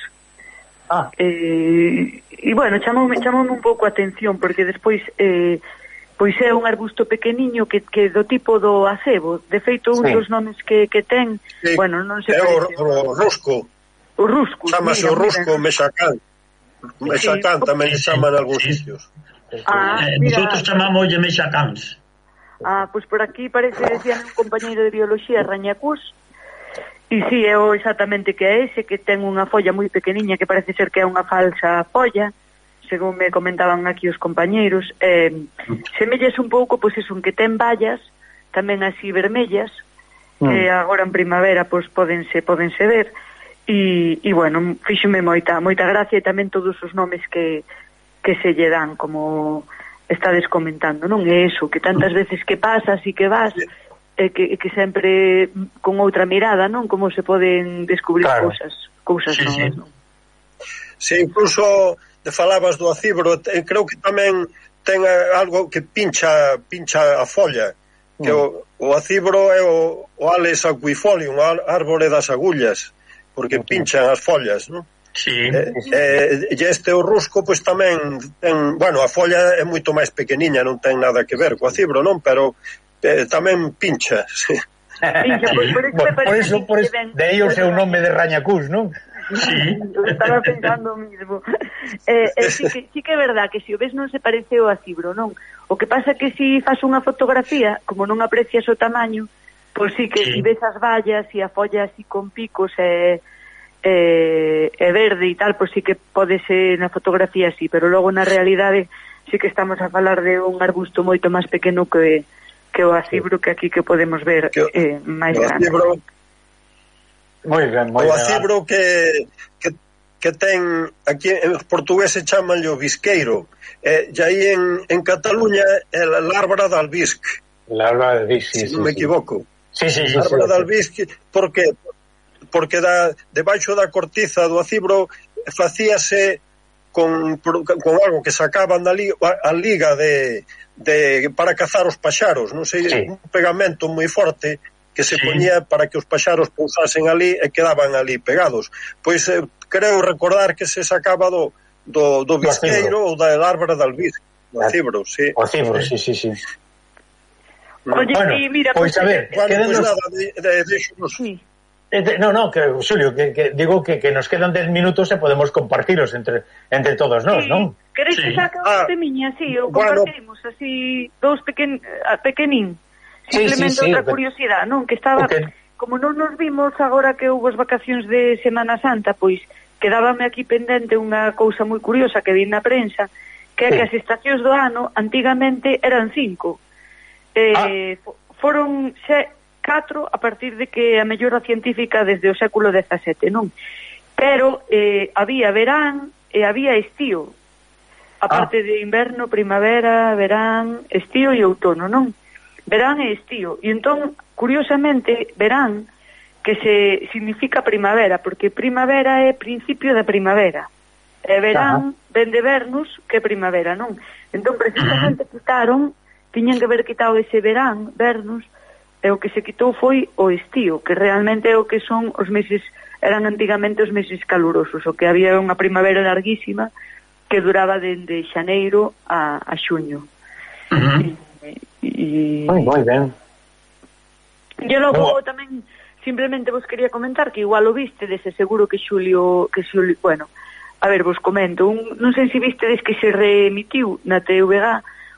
Ah. Eh, e bueno, chamoume, chamoume un pouco a atención porque despois eh, pois é un arbusto pequeniño que, que do tipo do acebo. De feito, un sí. dos nomes que, que ten, sí. bueno, non se é parece. O, o rusco. O rusco. Chámase o rusco mexacán. Mexacán sí. tamén se chaman en algúns sí. sitios. Ah, eh, nosotros chamamos de mexacáns. Ah, pois por aquí parece, decían un compañeiro de bioloxía, rañacús, e si, sí, é o exactamente que é ese, que ten unha folla moi pequeniña que parece ser que é unha falsa folla, según me comentaban aquí os compañeiros, eh, semelles un pouco, pois es un que ten vallas, tamén así vermellas, mm. que agora en primavera pois podense, podense ver, e, e bueno, fíxome moita, moita gracia e tamén todos os nomes que, que se lle dan, como estades comentando, non é eso, que tantas veces que pasas e que vas, e que, que sempre con outra mirada, non? Como se poden descubrir claro. cousas, cousas sí, novas, sí. non? Sí, incluso te falabas do acibro, creo que tamén ten algo que pincha pincha a folla, que mm. o, o acibro é o, o Ales aquifolium, o árbore das agullas, porque okay. pinchan as follas, non? Sí. Eh, eh, e este o rusco, pois tamén ten, bueno, a folla é moito máis pequeniña, non ten nada que ver co acibro, non? Pero eh, tamén pincha, sí. Pincha, pois por iso, por, por iso, por iso de aí o seu nome de rañacús, non? Sí, eu estaba pensando o mismo. Eh, eh, sí, que, sí que é verdad que se o ves non se parece ao acibro, non? O que pasa que se faz unha fotografía, como non aprecias o tamaño, pois sí que sí. se ves as vallas e a folla así con picos e, e, e verde e tal, pois sí que pode ser na fotografía así, pero logo na realidade sí que estamos a falar de un arbusto moito máis pequeno que, que o acibro, que aquí que podemos ver eh, máis grande. Acibro... Moi ben, moi o ben. acibro que, que, que ten, aquí en portugués se chama o bisqueiro, e, e aí en, en Cataluña é a lárbara de albisc. Lárbara de albisc, sí, se sí, non me sí. equivoco. Sí, sí, sí. Lárbara sí, de sí. albisc, por que? Porque da, debaixo da cortiza do acibro facíase con, con algo que sacaban da liga, a liga de, de para cazar os paxaros, non sei, sí. un pegamento moi forte que se sí. poñía para que os paxaros pousasen ali e quedaban ali pegados. Pois eh, creo recordar que se sacaba do, do, do bisqueiro ou da lárbara de albisc, do acibro, sí. O acibro, sí, sí, sí. Oye, bueno, sí, mira, pois pues, a ver, bueno, quedan pues nos... nada, de, de, de, de, sí. No, no, que, Xulio, que, que digo que, que nos quedan dez minutos e podemos compartilos entre entre todos nós, sí. non? Queréis sí. que saque un ah. temiña, así, ou compartimos bueno. así, dous pequen, pequenín. Simplemente sí, sí, sí, outra curiosidade, non? Que estaba, okay. como non nos vimos agora que houve as vacacións de Semana Santa, pois quedábame aquí pendente unha cousa moi curiosa que vi na prensa, que é sí. que as estacións do ano antigamente eran cinco. Eh, ah. Foron xe, catro a partir de que a mellora científica desde o século dezasete, non? Pero eh, había verán e había estío. A parte ah. de inverno, primavera, verán, estío e outono, non? Verán e estío. E entón, curiosamente, verán que se significa primavera, porque primavera é principio da primavera. E verán Ajá. ven de vernus que primavera, non? Entón, precisamente quitaron, tiñan que haber quitado ese verán, vernus, e o que se quitou foi o estío, que realmente é o que son os meses, eran antigamente os meses calurosos, o que había unha primavera larguísima que duraba dende xaneiro a, a xuño. Uh-huh. E, moi, moi ben. Eu logo no. tamén simplemente vos quería comentar que igual o viste, dese seguro que Xulio, que Xulio, bueno, a ver, vos comento, un, non sei se vistedes que se reemitiu na T V G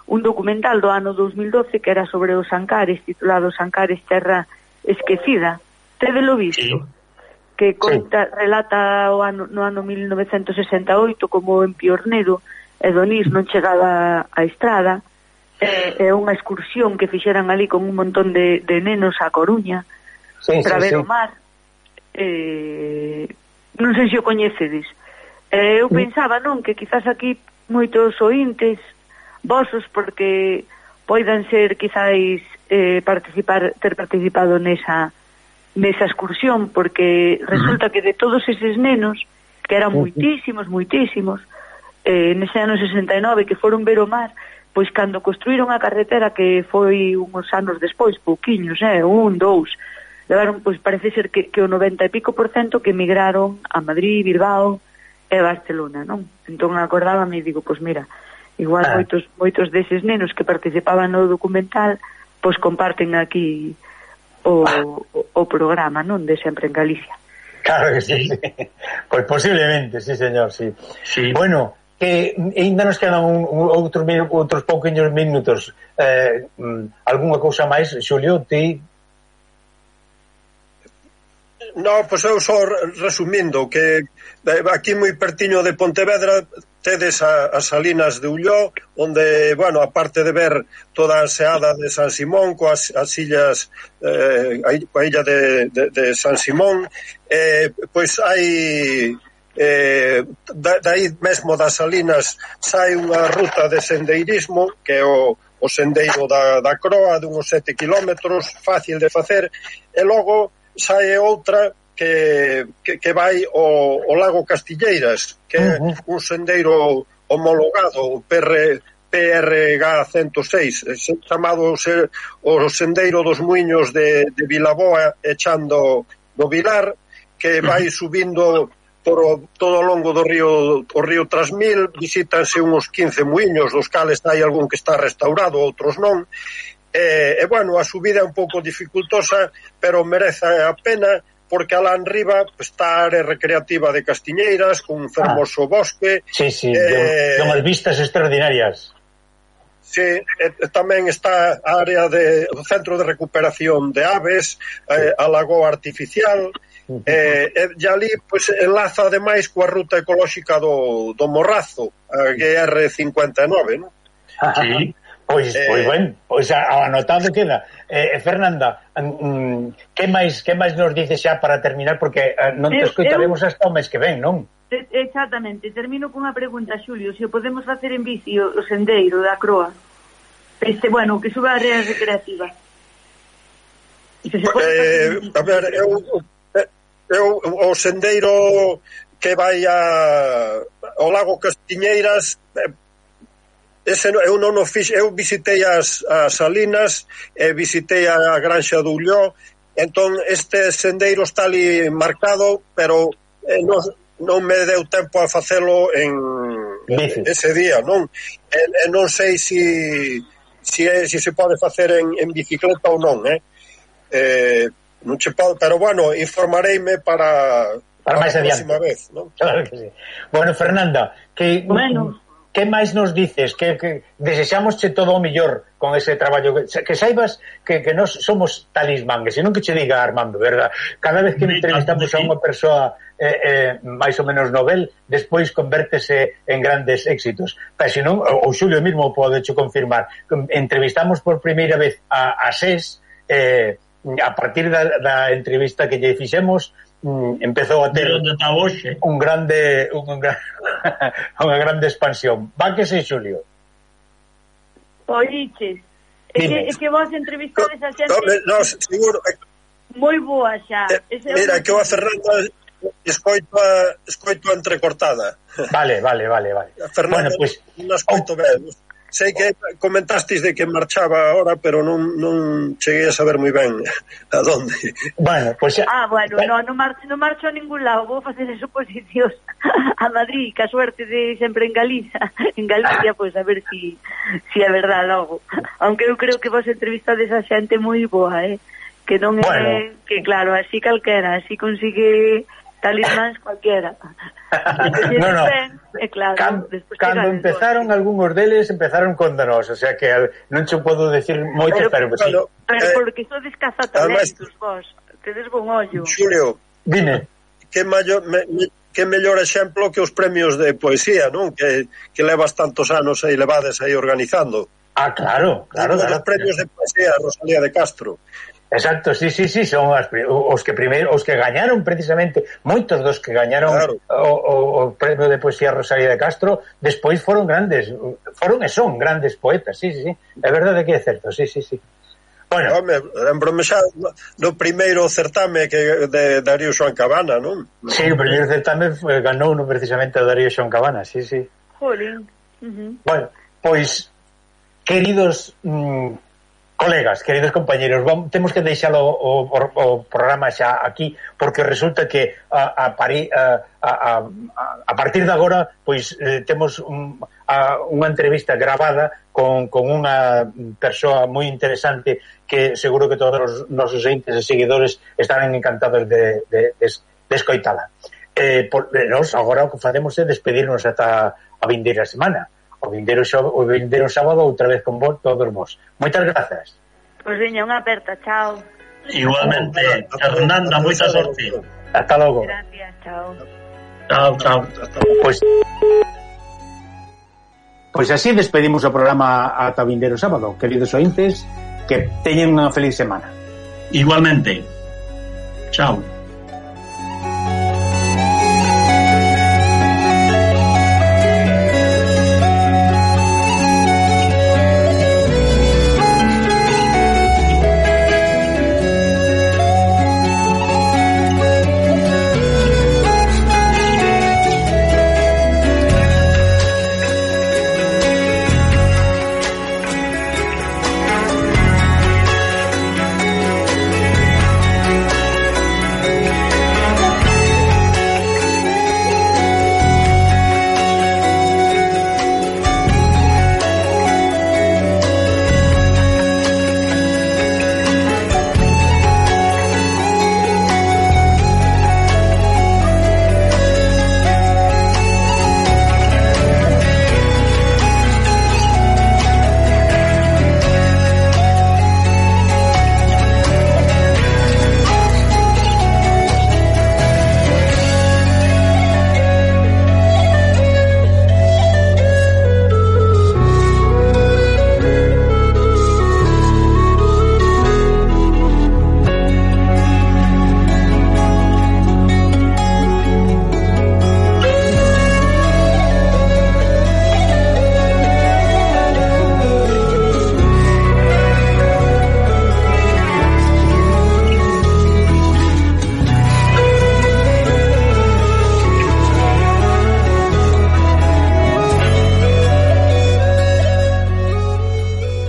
un documental do ano dos mil doce que era sobre os Ancares, titulado Os Ancares Terra Esquecida. Tedelo visto? Sí. Que conta, sí. relata o ano, no ano mil novecentos sesenta e oito como en Piornedo e Donís non chegaba a estrada, é, é unha excursión que fixeran ali con un montón de, de nenos a Coruña sí, para sí, ver sí. o mar. Eh, non sei se o coñecedes. Eh, eu pensaba, non, que quizás aquí moitos ointes vosos, porque poidan ser quizáis eh, participar, ter participado nesa nesa excursión, porque resulta que de todos eses nenos, que eran moitísimos, moitísimos, eh, nese ano sesenta e nove que foron ver o mar, pois cando construíron a carretera, que foi uns anos despois, pouquiños, eh, un, dous, levaron, pois parece ser que, que o noventa e pico por cento que emigraron a Madrid, Bilbao e Barcelona, non? Entón acordábame e digo, pois mira, igual ah. moitos moitos deses nenos que participaban no documental pois comparten aquí o, ah. o, o programa, non? De Sempre en Galicia. Claro que sí, sí. Pois posiblemente, sí señor, sí. sí. Bueno, que ainda nos quedan un, un, outros, outros pouquinhos minutos. Eh, algunha cousa máis, Xulio, ti? No, pois eu só resumindo que aquí moi pertiño de Pontevedra tedes a, as salinas de Ulló, onde, bueno, aparte de ver toda a seada de San Simón coas as illas, eh, a illa de, de, de San Simón, eh, pois hai eh, da, dai mesmo das salinas sai unha ruta de sendeirismo que é o, o sendeiro da, da Croa de uns sete kilómetros, fácil de facer, e logo sai outra que, que, que vai ao, ao lago Castilleiras, que é uh-huh. un sendeiro homologado, o P R G ciento seis, chamado o sendeiro dos muiños de, de Vilaboa, echando do Vilar, que vai subindo por o, todo o longo do río o río Trasmil, visítanse uns quince muiños, dos cales hai algún que está restaurado, outros non. E, e bueno, a subida é un pouco dificultosa, pero merece a pena, porque alá en riba está a área recreativa de Castiñeiras, con un fermoso ah, bosque. Sí, sí, eh, con as vistas extraordinarias. Sí, e, tamén está a área de o centro de recuperación de aves, eh, a lagoa artificial, uh-huh. eh, e, e ali pues, enlaza ademais coa ruta ecolóxica do, do Morrazo, a G R cincuenta e nove, non? Sí. Pois, eh, pois ben, pois anotado queda. Eh, Fernanda, mm, que máis que máis nos dices xa para terminar, porque eh, non te escoitaremos eu, hasta o mes que ven, non? Exactamente, termino con unha pregunta, Xulio, se o podemos facer en bici o, o sendeiro da Croa. Este, bueno, que suba a área recreativa. Se se eh, a ver, eu, eu o sendeiro que vai a ao lago Castiñeiras, eh, ese eu non o fixe, eu visitei as, as salinas e visitei a Granxa do Ulló, entón este sendeiro está ali marcado, pero eh, non, non me deu tempo a facelo en, en ese día, non? E, e non sei si si, é, si se pode facer en, en bicicleta ou non, eh? Eh, non che pode, pero bueno, informareime para para, para máis adiante vez, non? Claro que sí. Bueno, Fernanda, que bueno, que máis nos dices? Que, que desexámosche todo o mellor con ese traballo, que, que saibas que, que nos somos talismán, que senón que che diga Armando, verdad? Cada vez que entrevistamos a unha persoa eh, eh, máis ou menos novel, despois convértese en grandes éxitos. Pero senón, o Xulio mismo pode cho confirmar, entrevistamos por primeira vez a, a SES, eh, a partir da, da entrevista que lle fixemos, Mm, empezou a ter un grande un, un, unha grande expansión. Va que sei, Xulio. Oiches, é que, é que vos entrevistades a xente no, no, seguro moi boa xa. Eh, mira, que o a Fernanda escoito a, escoito a entrecortada. Vale, vale, vale, vale. A Fernanda, bueno, pues, non escoito oh. ben. Sei que comentastes de que marchaba ahora, pero non, non cheguei a saber moi ben a donde. Bueno, pues xa... Ah, bueno, no, non marcho, non marcho a ningún lado, vou facer suposicións a Madrid, que a suerte de sempre en Galicia, en Galicia, pois pues, a ver si, si é verdade logo. Aunque eu creo que vos entrevistades a xente moi boa, eh? Que non é, bueno. Que claro, así calquera, así consigue talismáns cualquiera. No, no. Ben, eh, claro, Can, cando empezaron algúns deles empezaron con nós, o sea que non che podo decir moito, pero, pero, pero, sí. pero eh, porque sodes cazatalentos vos, tedes bon ollo. Xulio, dime. Que mayor, me, me, que mellor exemplo que os premios de poesía, non? Que, que levas tantos anos aí levades aí organizando. Ah, claro, claro. claro os premios de poesía Rosalía de Castro. Exacto, sí, sí, sí, son as, os que primeiro, os que gañaron precisamente, moitos dos que gañaron claro. o, o, o premio de poesía Rosalía de Castro, despois foron grandes, foron e son grandes poetas, sí, sí, sí, é verdade que é certo, sí, sí, sí. Bueno, home, lembrome xa no primeiro certame que de Darío Xoán Cabana, non? Sí, o primeiro certame ganou no precisamente a Darío Xoán Cabana, sí, sí. Jolín. Uh-huh. Bueno, pois, queridos mmm, colegas, queridos compañeros, vamos, temos que deixalo o, o, o programa xa aquí, porque resulta que a, a, París, a, a, a partir de agora pois eh, temos un, a, unha entrevista gravada con, con unha persoa moi interesante que seguro que todos os nosos entes e seguidores estarán encantados de, de, de, de escoitala. Eh, por, eh, nos agora o que facemos é despedirnos ata a vindeira semana. O vindeiro, o vindeiro sábado outra vez con vos, todos vos. Moitas grazas. Pois veña, unha aperta, chao. Igualmente, Fernanda, moita sorte. Hasta logo. Gracias, chao. Chao, chao. Pois Pois así despedimos o programa ata o vindeiro sábado. Queridos ointes, que teñen unha feliz semana. Igualmente. Chao.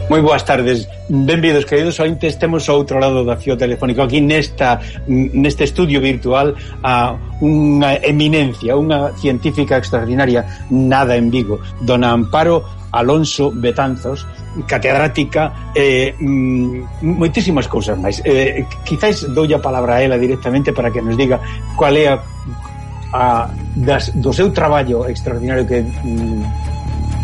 Moi boas tardes, benvidos queridos ointes. Temos ao outro lado da fío telefónico aquí nesta neste estudio virtual a unha eminencia, unha científica extraordinaria nada en Vigo, dona Amparo Alonso Betanzos, catedrática e eh, moitísimas cousas máis. Eh, quizás doulle a palabra a ela directamente para que nos diga cual é a, a das, do seu traballo extraordinario que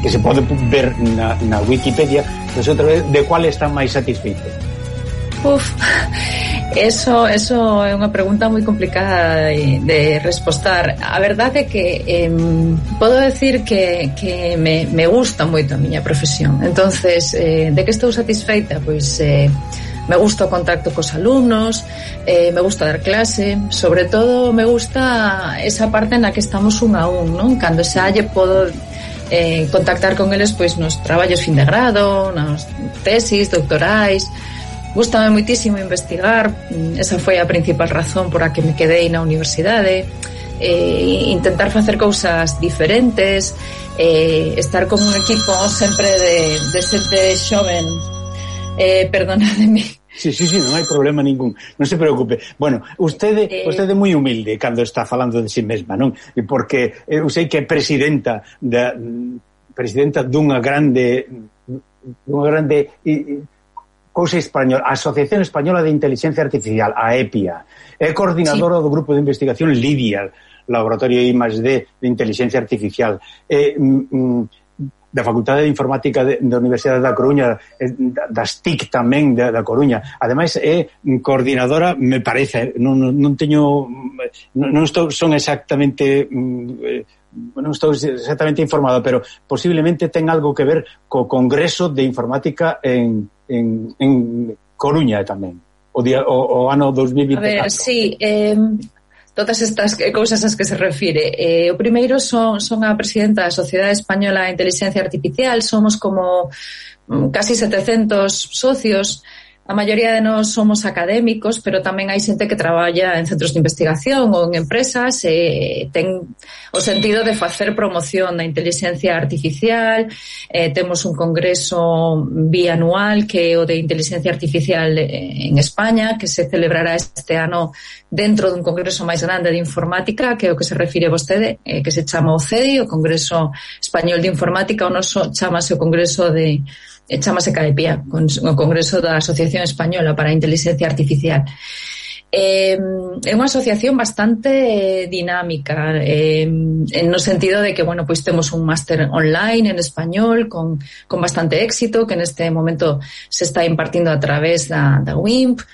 que se pode ver na, na Wikipedia, pues outra vez, de cual está máis satisfeito? Uf, eso, eso é unha pregunta moi complicada de, de respostar. A verdade é que eh, podo decir que, que me, me gusta moito a miña profesión. Entonces, eh, de que estou satisfeita? Pois eh, me gusta o contacto cos alumnos, eh, me gusta dar clase, sobre todo me gusta esa parte na que estamos un a un, non? Cando xa lle podo Eh, contactar con eles pois nos traballos fin de grado, nas tesis doctorais. Gústame moitísimo investigar, esa foi a principal razón por a que me quedei na universidade. Eh, intentar facer cousas diferentes, eh, estar con un equipo sempre de, de xente xoven. Eh, perdonademe. Sí, sí, sí, non hai problema ningún, non se preocupe. Bueno, usted é eh... moi humilde cando está falando de si mesma, non? Porque eu sei que é presidenta da presidenta dunha grande dunha grande cousa española, a Asociación Española de Inteligencia Artificial, a EPIA. É coordinadora sí. do grupo de investigación LIDIA, Laboratorio I más D de Inteligencia Artificial. Eh, mm, da Facultade de Informática de, da Universidade da Coruña, das T I C tamén da, da Coruña. Ademais é coordinadora, me parece, non, non teño non, non estou, son exactamente non estou exactamente informado, pero posiblemente ten algo que ver co Congreso de Informática en, en, en Coruña tamén, o, día, o, o ano dos mil vinte e catro. A ver, sí, eh... todas estas cousas ás que se refire. Eh, o primeiro son, son a presidenta da Sociedade Española de Inteligencia Artificial. Somos como casi setecentos socios. A maioría de nós somos académicos, pero tamén hai xente que traballa en centros de investigación ou en empresas e ten o sentido de facer promoción da inteligencia artificial. Eh, temos un congreso bianual que é o de inteligencia artificial en España, que se celebrará este ano dentro dun congreso máis grande de informática, que é o que se refire vostede, eh, que se chama o C E D I, o Congreso Español de Informática. O noso chamase o Congreso de e chamase CAEPIA, o Congreso da Asociación Española para a Inteligencia Artificial. Eh, é unha asociación bastante dinámica, eh, no sentido de que, bueno, pois temos un máster online en español con, con bastante éxito, que neste momento se está impartindo a través da, da W I M P.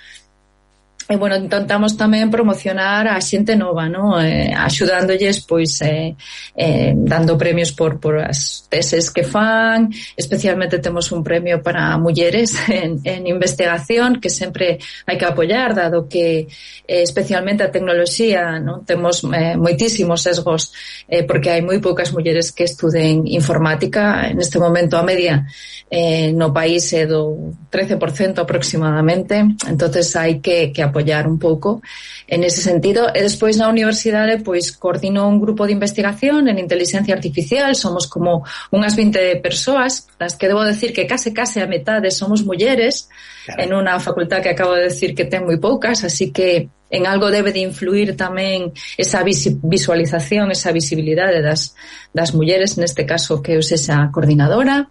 E, bueno, intentamos tamén promocionar a xente nova, ¿no? Eh, axudándolles, pois, eh, eh, dando premios por, por as teses que fan. Especialmente temos un premio para mulleres en, en investigación, que sempre hai que apoiar, dado que eh, especialmente a tecnoloxía, ¿no? Temos eh, moitísimos sesgos, eh, porque hai moi poucas mulleres que estuden informática. En este momento a media eh, no país é do trece por cento aproximadamente, entonces hai que, que apoiar un pouco en ese sentido. E despois na universidade pois coordino un grupo de investigación en inteligencia artificial. Somos como unhas vinte persoas, las que debo decir que case case a metade somos mulleres, claro, en unha facultad que acabo de decir que ten moi poucas, así que en algo debe de influir tamén esa visualización, esa visibilidade das, das mulleres, neste caso que eu sexa coordinadora.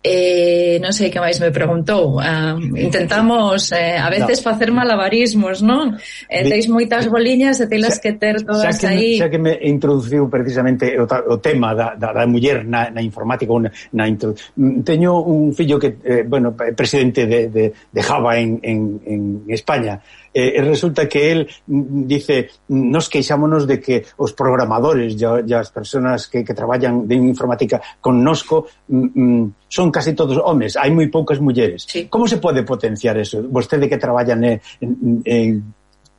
Eh, non sei que máis me preguntou. Uh, intentamos eh, a veces no. facer malabarismos, non? Eh, teis moitas boliñas e telas que ter todas xa que, aí. Xa que me introduciu precisamente o, o tema da, da, da muller na, na informática, na, na intro... teño un fillo que, eh, bueno, presidente de, de, de Java en, en, en España. Eh, resulta que él dice, nos queixámonos de que os programadores e as persoas que, que traballan de informática connosco mm, son casi todos homes, hai moi poucas mulleres. Sí. Como se pode potenciar eso? Vostede que traballa en, en, en,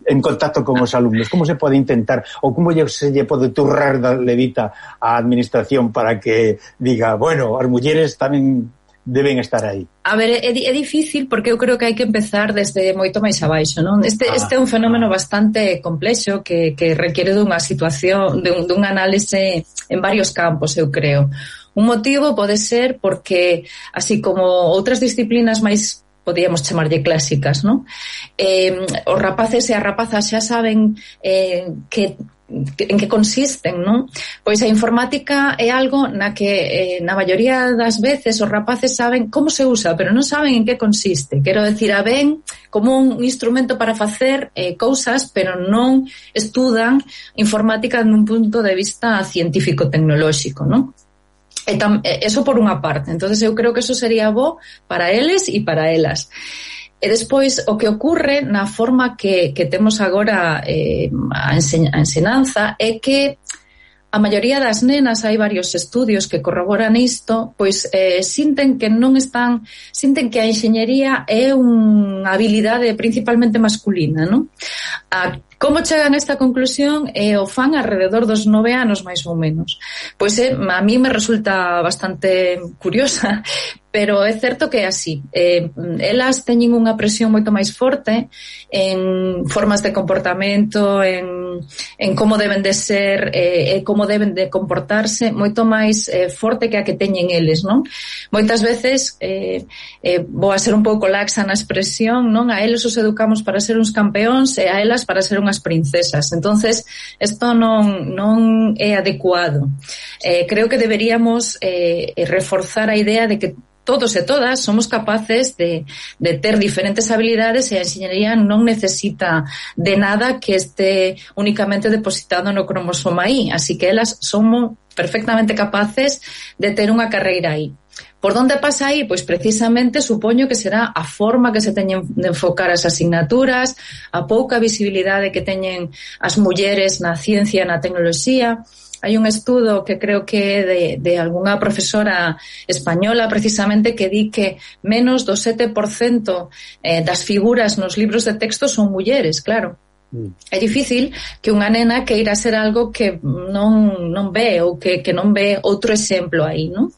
en contacto con os alumnos, como se pode intentar, ou como se lle pode turrar da levita á administración para que diga, bueno, as mulleres tamén deben estar aí? A ver, é, é difícil porque eu creo que hai que empezar desde moito máis abaixo, non? Este, ah, este é un fenómeno ah. bastante complexo que, que requiere dunha situación, dun, dun análise en varios campos, eu creo. Un motivo pode ser porque, así como outras disciplinas máis podíamos chamarlle clásicas, non? Eh, os rapaces e as rapazas xa saben eh, que en que consisten, non? Pois a informática é algo na que eh, na maioría das veces os rapaces saben como se usa, pero non saben en que consiste. Quero decir, a ven como un instrumento para facer eh, cousas, pero non estudan informática nun punto de vista científico-tecnolóxico, non? E tam, eso por unha parte. Entonces eu creo que eso sería bo para eles e para elas. E despois, o que ocurre na forma que, que temos agora eh, a, enseñ- a ensinanza é que a maioría das nenas, hai varios estudios que corroboran isto, pois eh, sinten que non están, sinten que a enxeñería é unha habilidade principalmente masculina, non? A como chegan a esta conclusión e o fan alrededor dos nove anos, máis ou menos. Pois eh, a mí me resulta bastante curiosa, pero é certo que é así. Eh, elas teñen unha presión moito máis forte en formas de comportamento, en, en como deben de ser e eh, como deben de comportarse, moito máis eh, forte que a que teñen eles, non? Moitas veces, eh, eh, vou a ser un pouco laxa na expresión, non? A eles os educamos para ser uns campeóns e a elas para ser unhas princesas. Entonces, isto non, non é adecuado. Eh, creo que deberíamos eh, reforzar a idea de que todos e todas somos capaces de, de ter diferentes habilidades e a enxeñería non necesita de nada que este únicamente depositado no cromosoma Y, así que elas somos perfectamente capaces de ter unha carreira aí. Por onde pasa aí? Pois precisamente supoño que será a forma que se teñen de enfocar as asignaturas, a pouca visibilidade que teñen as mulleres na ciencia e na tecnoloxía. Hai un estudo que creo que é de, de algunha profesora española precisamente que di que menos do sete por cento eh, das figuras nos libros de texto son mulleres, claro. Mm. É difícil que unha nena queira ser algo que non, non ve ou que, que non ve outro exemplo aí, non?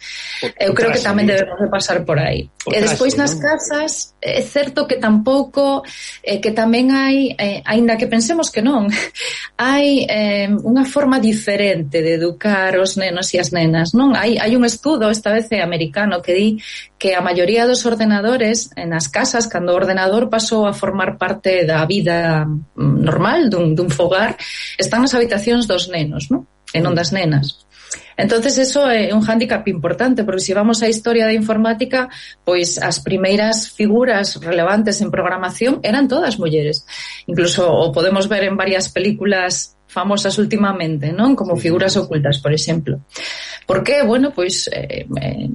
Eu creo que tamén debemos de pasar por aí. E despois nas casas é certo que tampouco eh, que tamén hai, eh, aínda que pensemos que non, hai eh, unha forma diferente de educar os nenos e as nenas, non? Hai, hai un estudo, esta vez é americano, que di que a maioría dos ordenadores nas casas, cando o ordenador pasou a formar parte da vida normal dun, dun fogar, están nas habitacións dos nenos, non? E non das nenas. Entonces eso é un hándicap importante, porque se vamos á historia da informática, pois as primeiras figuras relevantes en programación eran todas mulleres. Incluso o podemos ver en varias películas famosas últimamente, non? Como Figuras ocultas, por exemplo. Por qué? Bueno, pois eh, eh,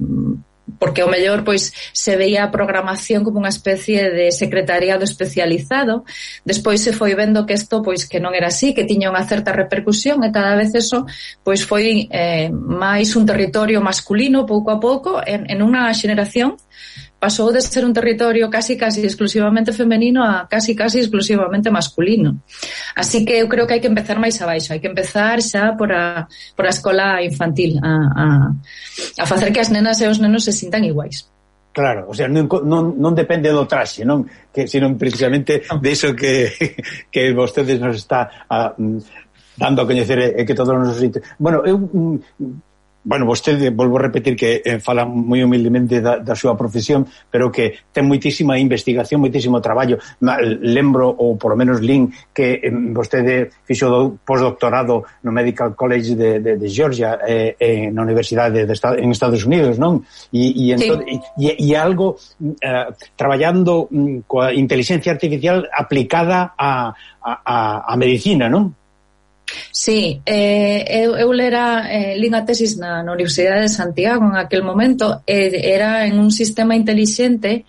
porque o mellor pois se veía a programación como unha especie de secretariado especializado, despois se foi vendo que isto pois que non era así, que tiña unha certa repercusión e cada vez eso pois foi eh, máis un territorio masculino pouco a pouco en, en unha xeración pasou de ser un territorio casi casi exclusivamente femenino a casi casi exclusivamente masculino. Así que eu creo que hai que empezar máis abaixo, hai que empezar xa por a, por a escola infantil, a, a, a facer que as nenas e os nenos se sintan iguais. Claro, o sea, non, non, non depende do traxe, non? Que, sino precisamente de iso que, que vostedes nos está a, dando a coñecer e que todos nos... Bueno, eu... Bueno, vostede, volvo a repetir que eh, fala moi humildemente da, da súa profesión, pero que ten moitísima investigación, moitísimo traballo. Lembro, ou por lo menos lin, que eh, vostede fixo do postdoctorado no Medical College de, de, de Georgia, eh, eh, na Universidade de Estados, en Estados Unidos, non? E, e, entón, sí. e, e algo eh, traballando mm, coa inteligencia artificial aplicada a, a, a medicina, non? Sí, eh, eu, eu lera eh, lin a tesis na, na Universidade de Santiago en aquel momento, eh, era en un sistema intelixente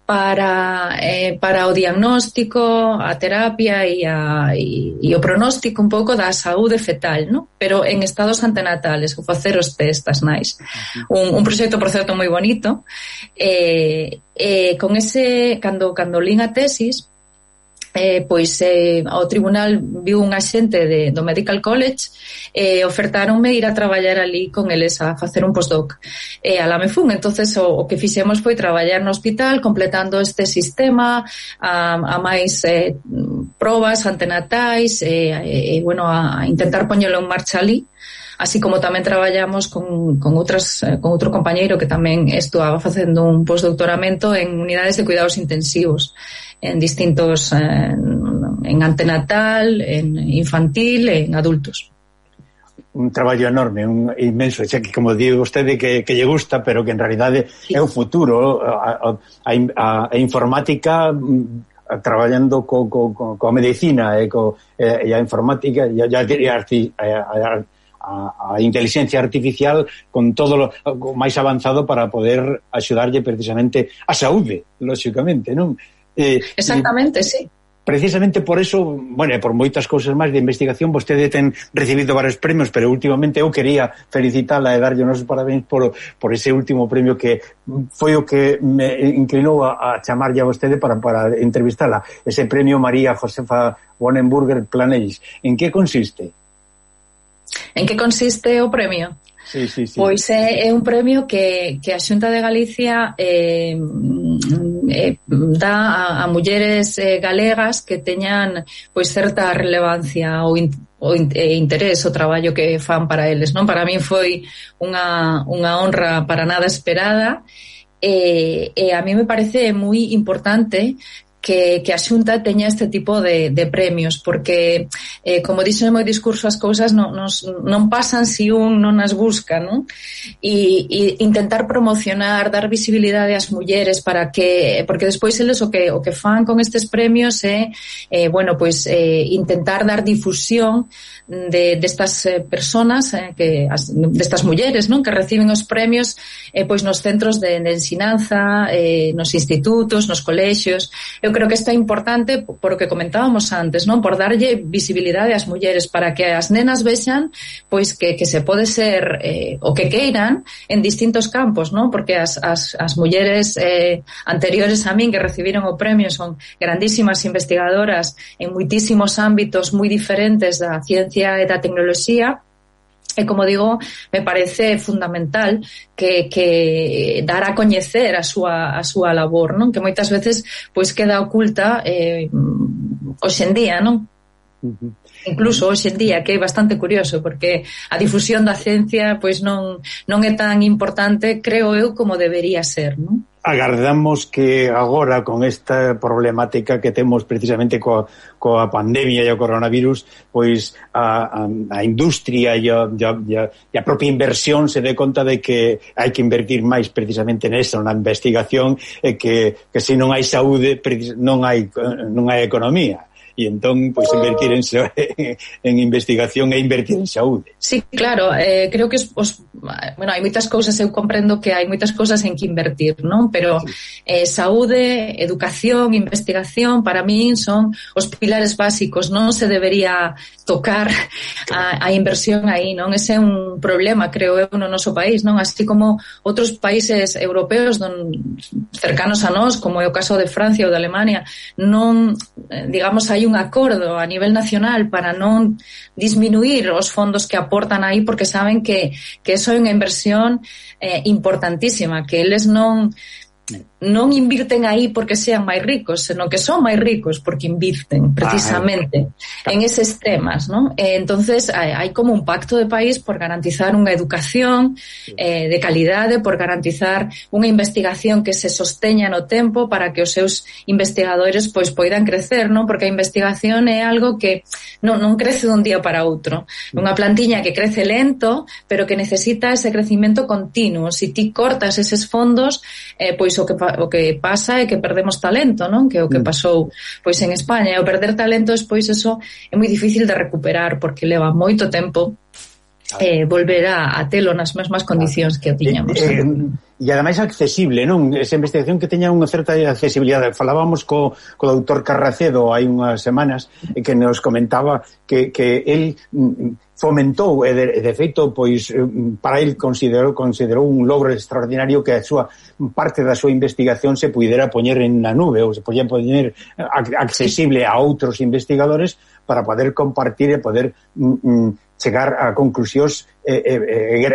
para eh, para o diagnóstico, a terapia e, a, e, e o pronóstico un pouco da saúde fetal, ¿no? Pero en estados antenatales, ou facer os test as nais. Un, un proxecto, por certo, moi bonito. Eh, eh, con ese, cando, cando lin a tesis, eh, pois eh, ao tribunal viu un axente de, do Medical College e eh, ofertaronme ir a traballar ali con eles a facer un postdoc e eh, alá me fun. Entonces o, o que fixemos foi traballar no hospital completando este sistema a, a máis eh, probas antenatais e eh, eh, bueno, a intentar poñelo en marcha ali, así como tamén traballamos con, con, outras, con outro compañeiro que tamén estuaba facendo un postdoctoramento en unidades de cuidados intensivos en distintos, en, en antenatal, en infantil, en adultos. Un traballo enorme, un inmenso, xa que como digo vostede que, que lle gusta, pero que en realidade sí. É o futuro, a, a, a, a informática traballando co, co, co, co a medicina e, co, e a informática e a, a, a, a, a inteligencia artificial con todo lo máis avanzado para poder axudarlle precisamente a saúde, lóxicamente, non? Eh, Exactamente, e, sí. Precisamente por eso, bueno, por moitas cousas máis de investigación, vostede ten recibido varios premios, pero últimamente eu quería felicitala e darlle unos parabéns por, por ese último premio que foi o que me inclinou a, a chamarlle a vostede para, para entrevistala, ese premio María Josefa Wonenburger Planells. En que consiste? En que consiste o premio? Sí, sí, sí. Pois é, é un premio que, que a Xunta de Galicia eh, eh, dá a, a mulleres eh, galegas que teñan pois certa relevancia ou, in, ou in, eh, interés o traballo que fan para eles, non? Para min foi unha, unha honra para nada esperada e, e a mí me parece moi importante que, que a Xunta teña este tipo de, de premios, porque, eh, como dixo no meu discurso, as cousas non, nos, non pasan se un non as busca, non? E, e intentar promocionar, dar visibilidade ás mulleres para que, porque despois eles o que, o que fan con estes premios é, eh, bueno, pois, eh, intentar dar difusión de destas de personas, eh, que as, destas mulleres, non? Que reciben os premios eh, pois nos centros de, de ensinanza, eh, nos institutos, nos colexios. Eu creo que isto é importante por o que comentábamos antes, non? Por darlle visibilidade ás mulleres para que as nenas vexan pois que, que se pode ser eh, o que queiran en distintos campos, non? Porque as, as, as mulleres eh, anteriores a min que recibiron o premio son grandísimas investigadoras en moitísimos ámbitos moi diferentes da ciencia e da tecnoloxía. E, como digo, me parece fundamental que, que dar a coñecer a súa, a súa labor, non? Que moitas veces pois queda oculta eh, hoxe en día, non? Uh-huh. Incluso hoxe en día, que é bastante curioso, porque a difusión da ciencia pois non, non é tan importante, creo eu, como debería ser, non? Agardamos que agora con esta problemática que temos precisamente coa, coa pandemia e o coronavirus, pois a, a, a industria e a, e, a, e a propia inversión se dé conta de que hai que invertir máis precisamente nesa, na investigación, e que, que se non hai saúde non hai, non hai economía. E entón, pois, invertir en, en investigación e invertir en saúde. Sí, claro, eh, creo que os, os, bueno, hai moitas cousas, eu comprendo que hai moitas cousas en que invertir, non? Pero eh, saúde, educación, investigación, para min son os pilares básicos, non se debería tocar a, a inversión aí, non? Ese é un problema, creo eu, no noso país, non? Así como outros países europeos don, cercanos a nós, como é o caso de Francia ou de Alemania, non, digamos, hai un acordo a nivel nacional para non disminuir os fondos que aportan aí, porque saben que, que eso é unha inversión eh, importantísima, que eles non non invirten aí porque sean máis ricos, senón que son máis ricos porque invirten precisamente ah, en eses temas, ¿no? Eh, entonces hai, hai como un pacto de país por garantizar unha educación eh, de calidade, por garantizar unha investigación que se sosteña no tempo para que os seus investigadores pois poidan crecer, ¿no? Porque a investigación é algo que non, non crece dun día para outro, unha plantiña que crece lento, pero que necesita ese crecimento continuo. Se ti cortas eses fondos, eh, pois o que o que pasa é que perdemos talento, non? Que é o que pasou pois en España. E o perder talento despois eso é moi difícil de recuperar porque leva moito tempo eh, volver a, a telo nas mesmas condicións que o tiñamos. Eh, eh, e ademais accesible, non? Esa investigación que teña unha certa accesibilidade. Falábamos co, co doutor Carracedo hai unhas semanas e que nos comentaba que, que el fomentou e de, de feito pois para el considerou considerou un logro extraordinario que a súa parte da súa investigación se puidera poñer en na nube ou se podía poñer accesible a outros investigadores para poder compartir e poder mm, chegar a conclusións e, e,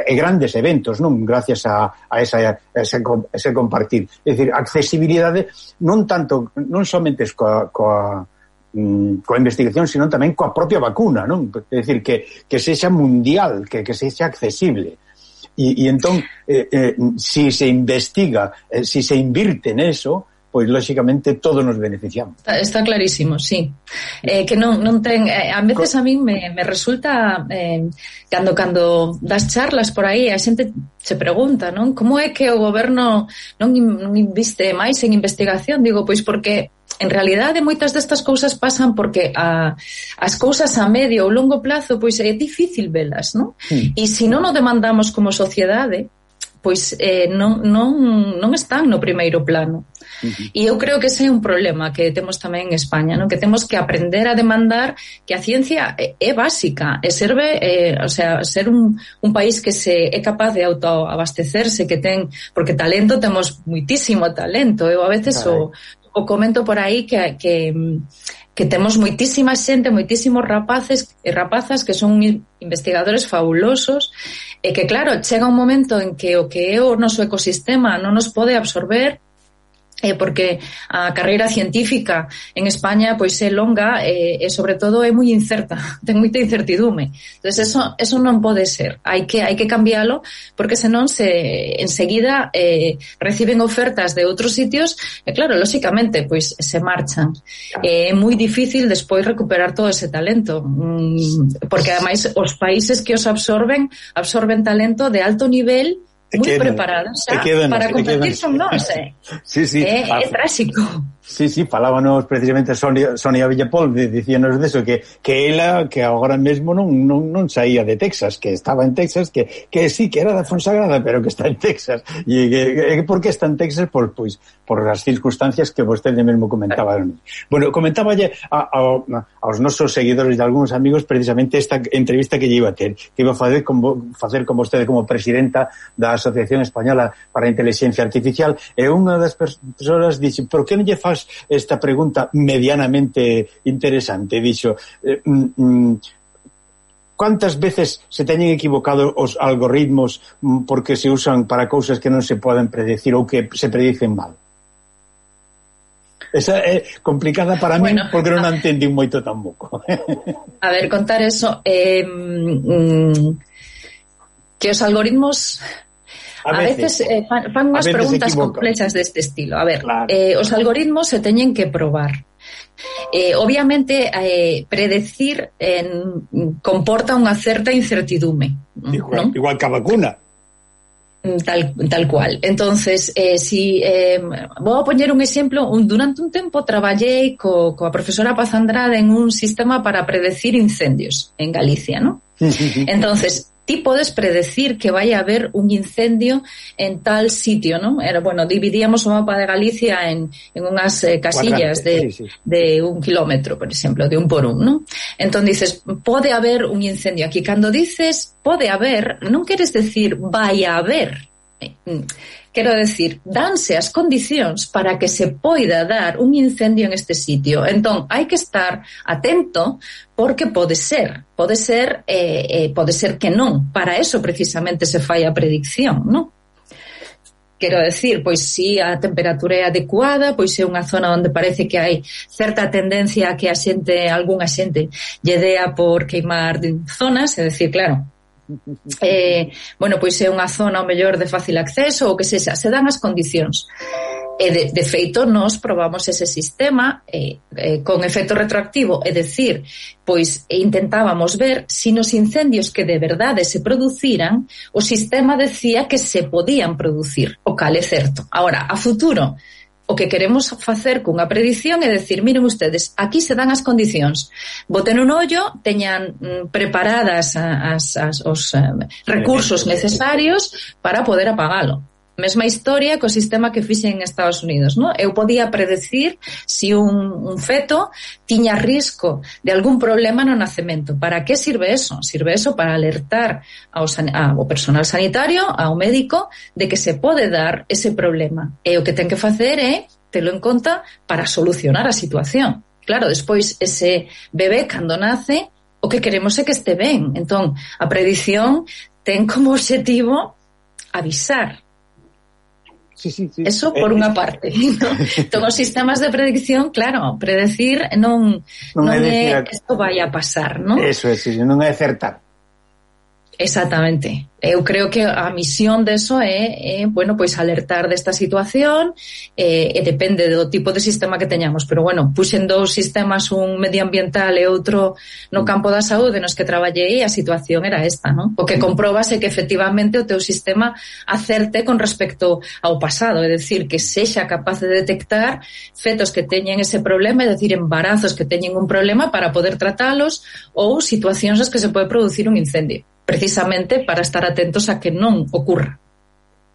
e grandes eventos, non? Gracias a, a, esa, a ese, ese compartir. É dicir, accesibilidade non tanto, non somente coa, coa coa investigación, sino tamén coa propia vacuna, non? É dicir, que, que sexa mundial, que, que sexa accesible. E, e entón, eh, eh, si se investiga, eh, si se invirte neso, pois lógicamente todos nos beneficiamos. Está, está clarísimo, sí. Eh, que non, non ten, eh, a veces a min me, me resulta eh, cando cando das charlas por aí a xente se pregunta, non? Como é que o goberno non, non inviste máis en investigación? Digo, pois porque en realidade moitas destas cousas pasan porque a, as cousas a medio ou longo plazo pois é difícil velas, non? Sí. E se non o demandamos como sociedade, pois eh, non, non, non están no primeiro plano. Uh-huh. E eu creo que ese é un problema que temos tamén en España, non? Que temos que aprender a demandar que a ciencia é, é básica, e serve, eh, o sea, ser un, un país que se é capaz de autoabastecerse, que ten, porque talento temos muitísimo talento. Eu a veces o, o comento por aí que, que, que temos moitísima xente, moitísimos rapaces e rapazas que son investigadores fabulosos e que, claro, chega un momento en que o que é o noso ecosistema non nos pode absorber eh, porque a carreira científica en España pois é longa e, e sobre todo é moi incerta, ten moita incertidume. Entonces eso eso non pode ser. Hai que hai que cambialo porque senón se enseguida eh, reciben ofertas de outros sitios e claro, lógicamente pois se marchan. É eh, moi difícil despois recuperar todo ese talento, mm, porque ademais os países que os absorben absorben talento de alto nivel moi preparados xa para competir con nós, eh? Sí, sí. É, é tráxico. Sí, sí, falábanos precisamente Sonia, Sonia Villapol, dicíanos deso, que, que ela, que agora mesmo non, non, non saía de Texas, que estaba en Texas, que, que sí, que era da Fonsagrada, pero que está en Texas. E que, que por que está en Texas? Por, pois, por as circunstancias que vostede mesmo comentaba. Bueno, comentáballe a, a, aos nosos seguidores e algúns amigos precisamente esta entrevista que lle iba a ter, que iba a facer con, facer con vostede como presidenta da Asociación Española para a Inteligencia Artificial, e unha das persoas dixe, por que non lle faz esta pregunta medianamente interesante? Dixo, eh, mm, ¿cuántas veces se teñen equivocado os algoritmos porque se usan para cousas que non se poden predecir ou que se predicen mal? Esa é complicada para bueno, mí porque non a entendín moito tampouco. A ver, contar eso eh, mm, que os algoritmos A, a veces, veces eh, fan, fan unhas preguntas complexas deste estilo. A ver, claro. eh, os algoritmos se teñen que probar. Eh, obviamente, eh, predecir eh, comporta unha certa incertidume. Igual, ¿no? Igual que a vacuna. Tal, tal cual. Entonces, eh, si eh, vou a poñer un exemplo, un, durante un tempo traballei co, coa profesora Paz Andrade en un sistema para predecir incendios en Galicia, ¿no? Entonces, ti podes predecir que vai a haber un incendio en tal sitio, ¿no? Era, bueno, dividíamos o mapa de Galicia en, en unhas eh, casillas de, sí, sí. de un kilómetro, por exemplo, de un por un, ¿no? Entón dices, pode haber un incendio aquí. Cando dices pode haber, non queres decir vai a haber. Quero decir, danse as condicións para que se poida dar un incendio en este sitio. Entón, hai que estar atento porque pode ser, pode ser, eh, eh, pode ser que non. Para eso precisamente se fai a predicción, non? Quero decir, pois si a temperatura é adecuada, pois é unha zona onde parece que hai certa tendencia a que a xente, algunha xente, lle dea por queimar zonas, é dicir, claro, Eh, bueno, pois é unha zona ao mellor de fácil acceso ou que sexa, se dan as condicións e de, de feito nós probamos ese sistema eh, eh, con efecto retroactivo, é dicir, pois intentábamos ver se si nos incendios que de verdade se produciran o sistema decía que se podían producir, o cal é certo. Ahora, a futuro o que queremos facer cunha predición é decir, miren ustedes, aquí se dan as condicións, boten un ollo, teñan mm, preparadas as, as, os eh, recursos necesarios para poder apagalo. mesma historia co sistema que fixen en Estados Unidos, ¿no? Eu podía predecir si un, un feto tiña risco de algún problema no nacemento. Para que sirve eso? Sirve eso para alertar ao, ao personal sanitario, ao médico, de que se pode dar ese problema. E o que ten que facer é telo en conta para solucionar a situación. Claro, despois ese bebé cando nace, o que queremos é que este ben. Entón, a predición ten como objetivo avisar. Sí, sí, sí. Eso por eh, unha parte, ¿no? Entón, os sistemas de predicción, claro, predecir non, non, non é que isto vai a pasar, ¿no? Eso é, sí, non é acertar. Exactamente. Eu creo que a misión deso é, é bueno, pois alertar desta situación e, e depende do tipo de sistema que teñamos, pero bueno, puxen dous sistemas, un medioambiental e outro no campo da saúde nos que traballei, a situación era esta, ¿no? O que comprobas é que efectivamente o teu sistema acerte con respecto ao pasado, é dicir, que sexa capaz de detectar fetos que teñen ese problema, é dicir, embarazos que teñen un problema para poder tratalos ou situacións nas que se pode producir un incendio, precisamente para estar atentos a que non ocurra.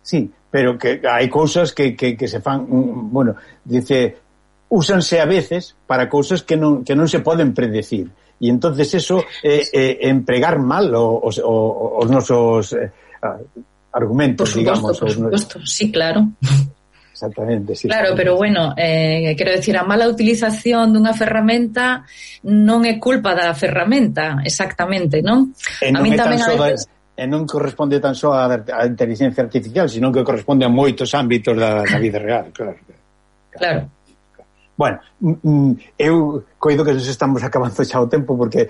Sí, pero que hai cousas que, que, que se fan, bueno, dice, úsanse a veces para cousas que non, que non se poden predecir. E entonces eso é eh, eh, empregar mal os, os, os nosos eh, argumentos, por supuesto, digamos. Por supuesto, nos... sí, claro. Exactamente, sí. Claro, pero bueno, eh, quero decir, a mala utilización dunha ferramenta non é culpa da ferramenta, exactamente, non? E non a mí é tamén tan a só veces... da, e non corresponde tan só a, a inteligencia artificial, sino que corresponde a moitos ámbitos da, da vida real, claro. Claro. Bueno, eu coido que nos estamos acabando xa o tempo porque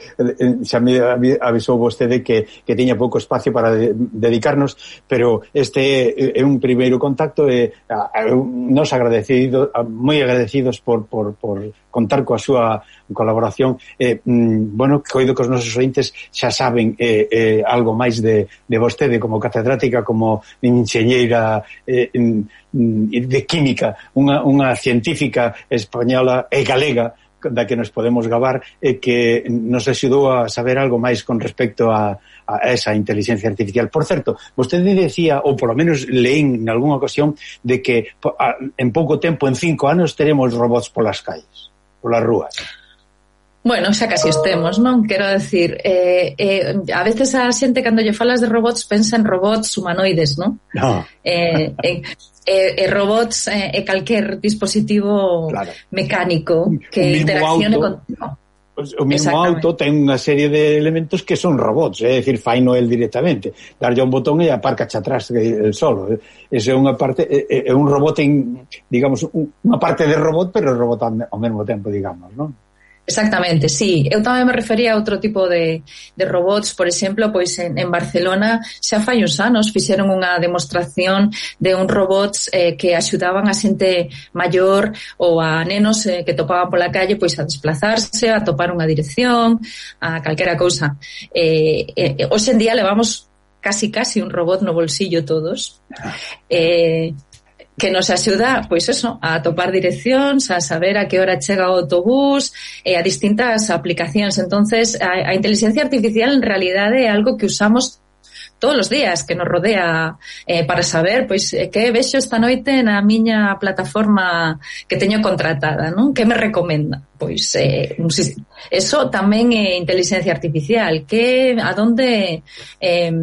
xa me avisou vostede que, que tiña pouco espacio para de, dedicarnos, pero este é un primeiro contacto e nos agradecidos, moi agradecidos por, por, por contar coa súa colaboración. Eh, bueno, coido que os nosos ointes xa saben eh, eh, algo máis de, de vostede como catedrática, como enxeñeira eh, de química, unha, unha científica española e galega da que nos podemos gabar e que nos axudou a saber algo máis con respecto a, a esa inteligencia artificial. Por certo, vostede decía, ou polo menos leín en algunha ocasión, de que en pouco tempo, en cinco anos, teremos robots polas calles, polas rúas. Bueno, xa casi estemos, non? Quero decir, eh, eh, a veces a xente cando lle falas de robots pensa en robots humanoides, non? No. Eh, eh, E, e robots e, e calquer dispositivo claro. mecánico que interaccione con... O mismo auto ten unha serie de elementos que son robots, é dicir, faino el directamente, darlle un botón e aparca xa atrás el solo. Esa é unha parte, é, é un robot en, digamos, unha parte de robot, pero robot ao mesmo tempo, digamos, non? Exactamente, sí. Eu tamén me refería a outro tipo de, de robots, por exemplo, pois en, en Barcelona xa fai uns anos fixeron unha demostración de un robots eh, que axudaban a xente maior ou a nenos eh, que topaban pola calle pois a desplazarse, a topar unha dirección, a calquera cousa. Eh, eh, hoxe en día levamos casi casi un robot no bolsillo todos. Eh... que nos axuda, pois eso, a topar direccións, a saber a que hora chega o autobús, e a distintas aplicacións. Entonces, a, a inteligencia artificial en realidade é algo que usamos todos os días, que nos rodea eh, para saber, pois, que vexo esta noite na miña plataforma que teño contratada, non? Que me recomenda? Pois, eh, eso tamén é inteligencia artificial, que a donde eh,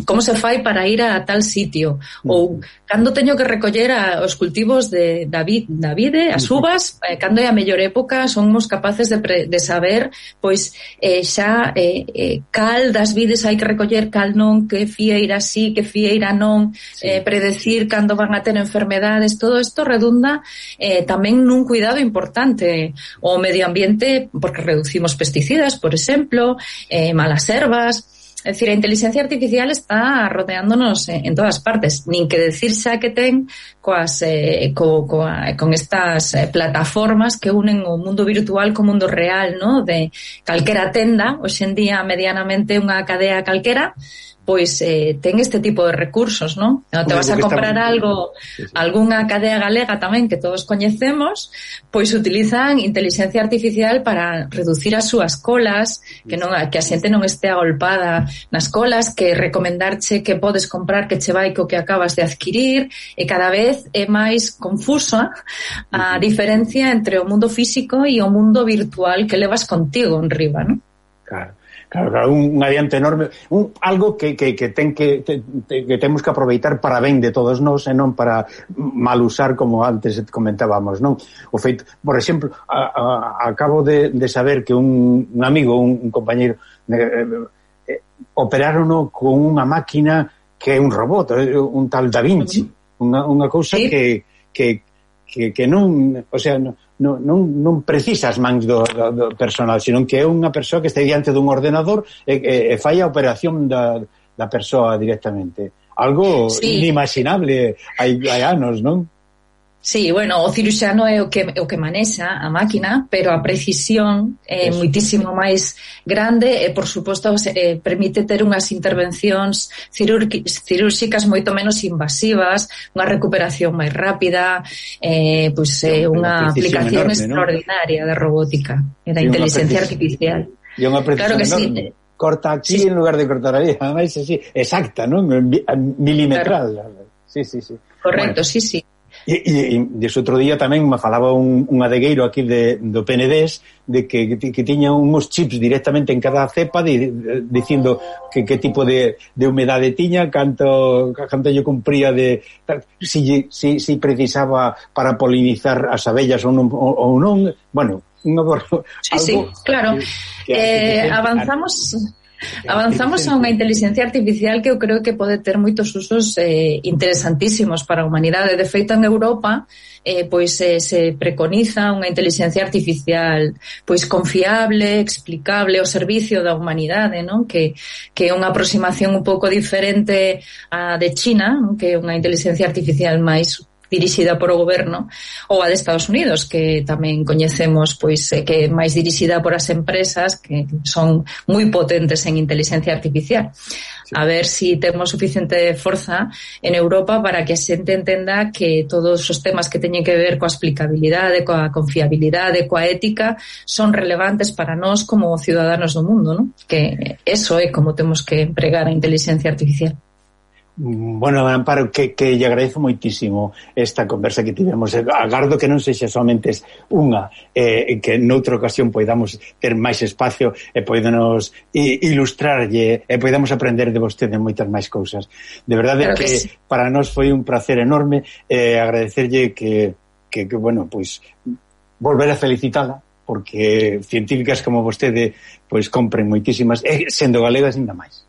como se fai para ir a tal sitio, ou cando teño que recoller a, os cultivos de David, Davide, as uvas, eh, cando é a mellor época, somos capaces de, pre, de saber, pois, eh, xa eh, eh, cal das vides hai que recoller, cal non, que fieira sí, que fieira non, sí. eh, predecir cando van a ter enfermedades, todo isto redunda eh, tamén nun cuidado importante o medio ambiente, porque reducimos pesticidas, por exemplo, eh, malas ervas. É dicir, a inteligencia artificial está rodeándonos en, en todas partes, nin que decir xa que ten coas, eh, co, coa, con estas eh, plataformas que unen o mundo virtual co mundo real, ¿no? De calquera tenda, hoxe en día medianamente unha cadea calquera, pois eh, ten este tipo de recursos, non? Non te vas a comprar algo, algunha cadea galega tamén que todos coñecemos, pois utilizan inteligencia artificial para reducir as súas colas, que non que a xente non este agolpada nas colas, que recomendarche que podes comprar que che vai co que acabas de adquirir, e cada vez é máis confusa a diferencia entre o mundo físico e o mundo virtual que levas contigo en riba, non? Claro. Claro, claro, un, un adiante enorme, un, algo que, que, que ten que, te, te, que temos que aproveitar para ben de todos nós e non para mal usar, como antes comentábamos, non? O feito, por exemplo, a, a, acabo de, de saber que un, un amigo, un, un compañeiro eh, eh, operaron con unha máquina que é un robot, un tal Da Vinci, unha, unha cousa ¿Sí? que, que, que, que non, o sea, non Non, non, non precisa as mans do, do, do personal, senón que é unha persoa que está diante dun ordenador e, e, e fai a operación da, da persoa directamente. Algo sí. inimaginable hai, hai anos, non? Sí, bueno, o ciruxano é o que o que manexa a máquina, pero a precisión é Eso. moitísimo máis grande e, por suposto, eh, permite ter unhas intervencións cirúrxicas moito menos invasivas, unha recuperación máis rápida, eh, pois é eh, unha aplicación enorme, extraordinaria ¿no? de robótica e da sí, inteligencia artificial. E unha precisión claro enorme. Sí. Corta aquí sí. en lugar de cortar aí, ademais así, exacta, non? Milimetral. Claro. Sí, sí, sí. Correcto, bueno. sí, sí. E, e, e dese outro día tamén me falaba un, un adegueiro aquí de, do P N D E S de que, que, que tiña uns chips directamente en cada cepa de, de, dicindo que, que tipo de, de humedade tiña, canto, canto lle cumpría de si, si, si precisaba para polinizar as abellas ou non, ou non. Bueno, un algo, sí, sí, claro que, que, eh, que, avanzamos Avanzamos a unha inteligencia artificial que eu creo que pode ter moitos usos eh, interesantísimos para a humanidade. De feito, en Europa eh, pois eh, se preconiza unha inteligencia artificial pois confiable, explicable ao servicio da humanidade, non? Que, que é unha aproximación un pouco diferente a de China, non? Que é unha inteligencia artificial máis dirixida por o goberno, ou a de Estados Unidos, que tamén coñecemos pois eh, que é máis dirixida por as empresas que son moi potentes en inteligencia artificial. Sí. A ver si temos suficiente forza en Europa para que a xente entenda que todos os temas que teñen que ver coa explicabilidade, coa confiabilidade, coa ética, son relevantes para nós como ciudadanos do mundo, non? Que eso é como temos que empregar a inteligencia artificial. Bueno, Amparo, que, que lle agradezo moitísimo esta conversa que tivemos. Agardo que non sexa somente unha, eh, que noutra ocasión poidamos ter máis espacio e poidanos ilustrarlle e poidamos aprender de vostede moitas máis cousas. De verdade claro que, que sí. Para nós foi un placer enorme eh, agradecerlle que, que, que, bueno, pois volver a felicitala, porque científicas como vostede pois compren moitísimas, e sendo galegas ainda máis.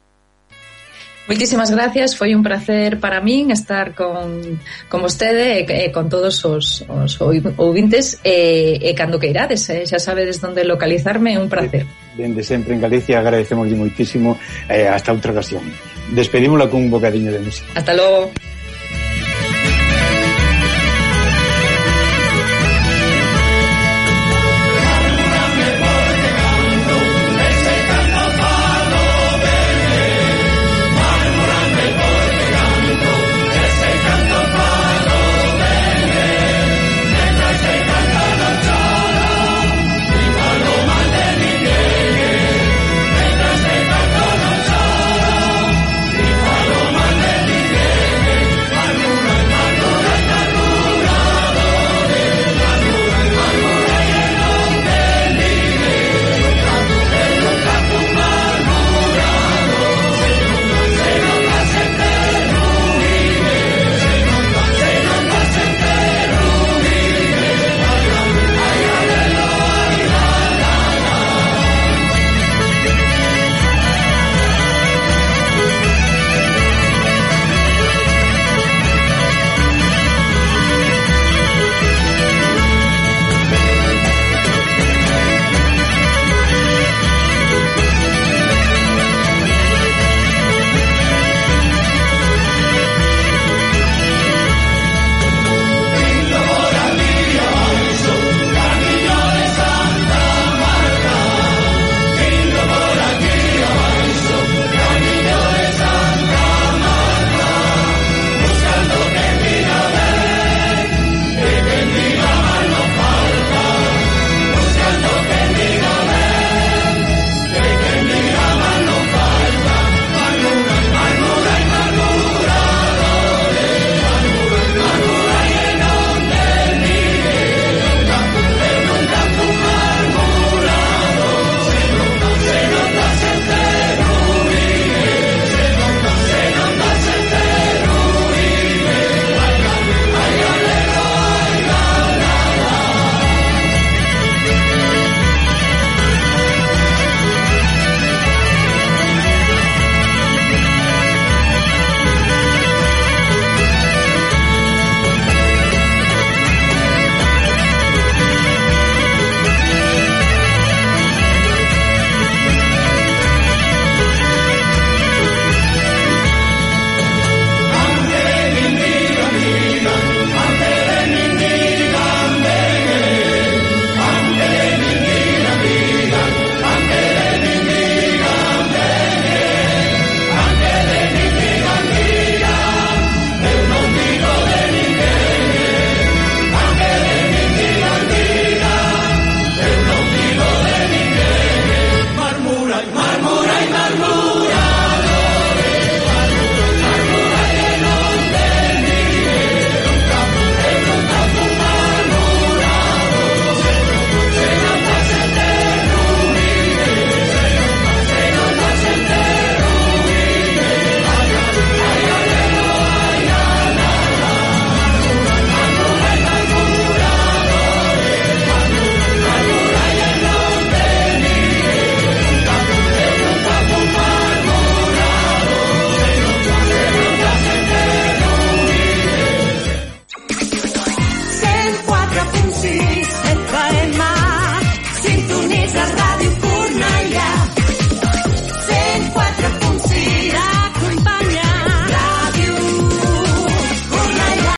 Moitísimas gracias, foi un placer para min estar con, con vostede e, e con todos os, os ouvintes e, e cando que irades, eh, xa sabedes onde localizarme, é un placer. Dende sempre en Galicia, agradecemos moitísimo, eh, hasta outra ocasión. Despedímola con un bocadiño de música. Hasta logo.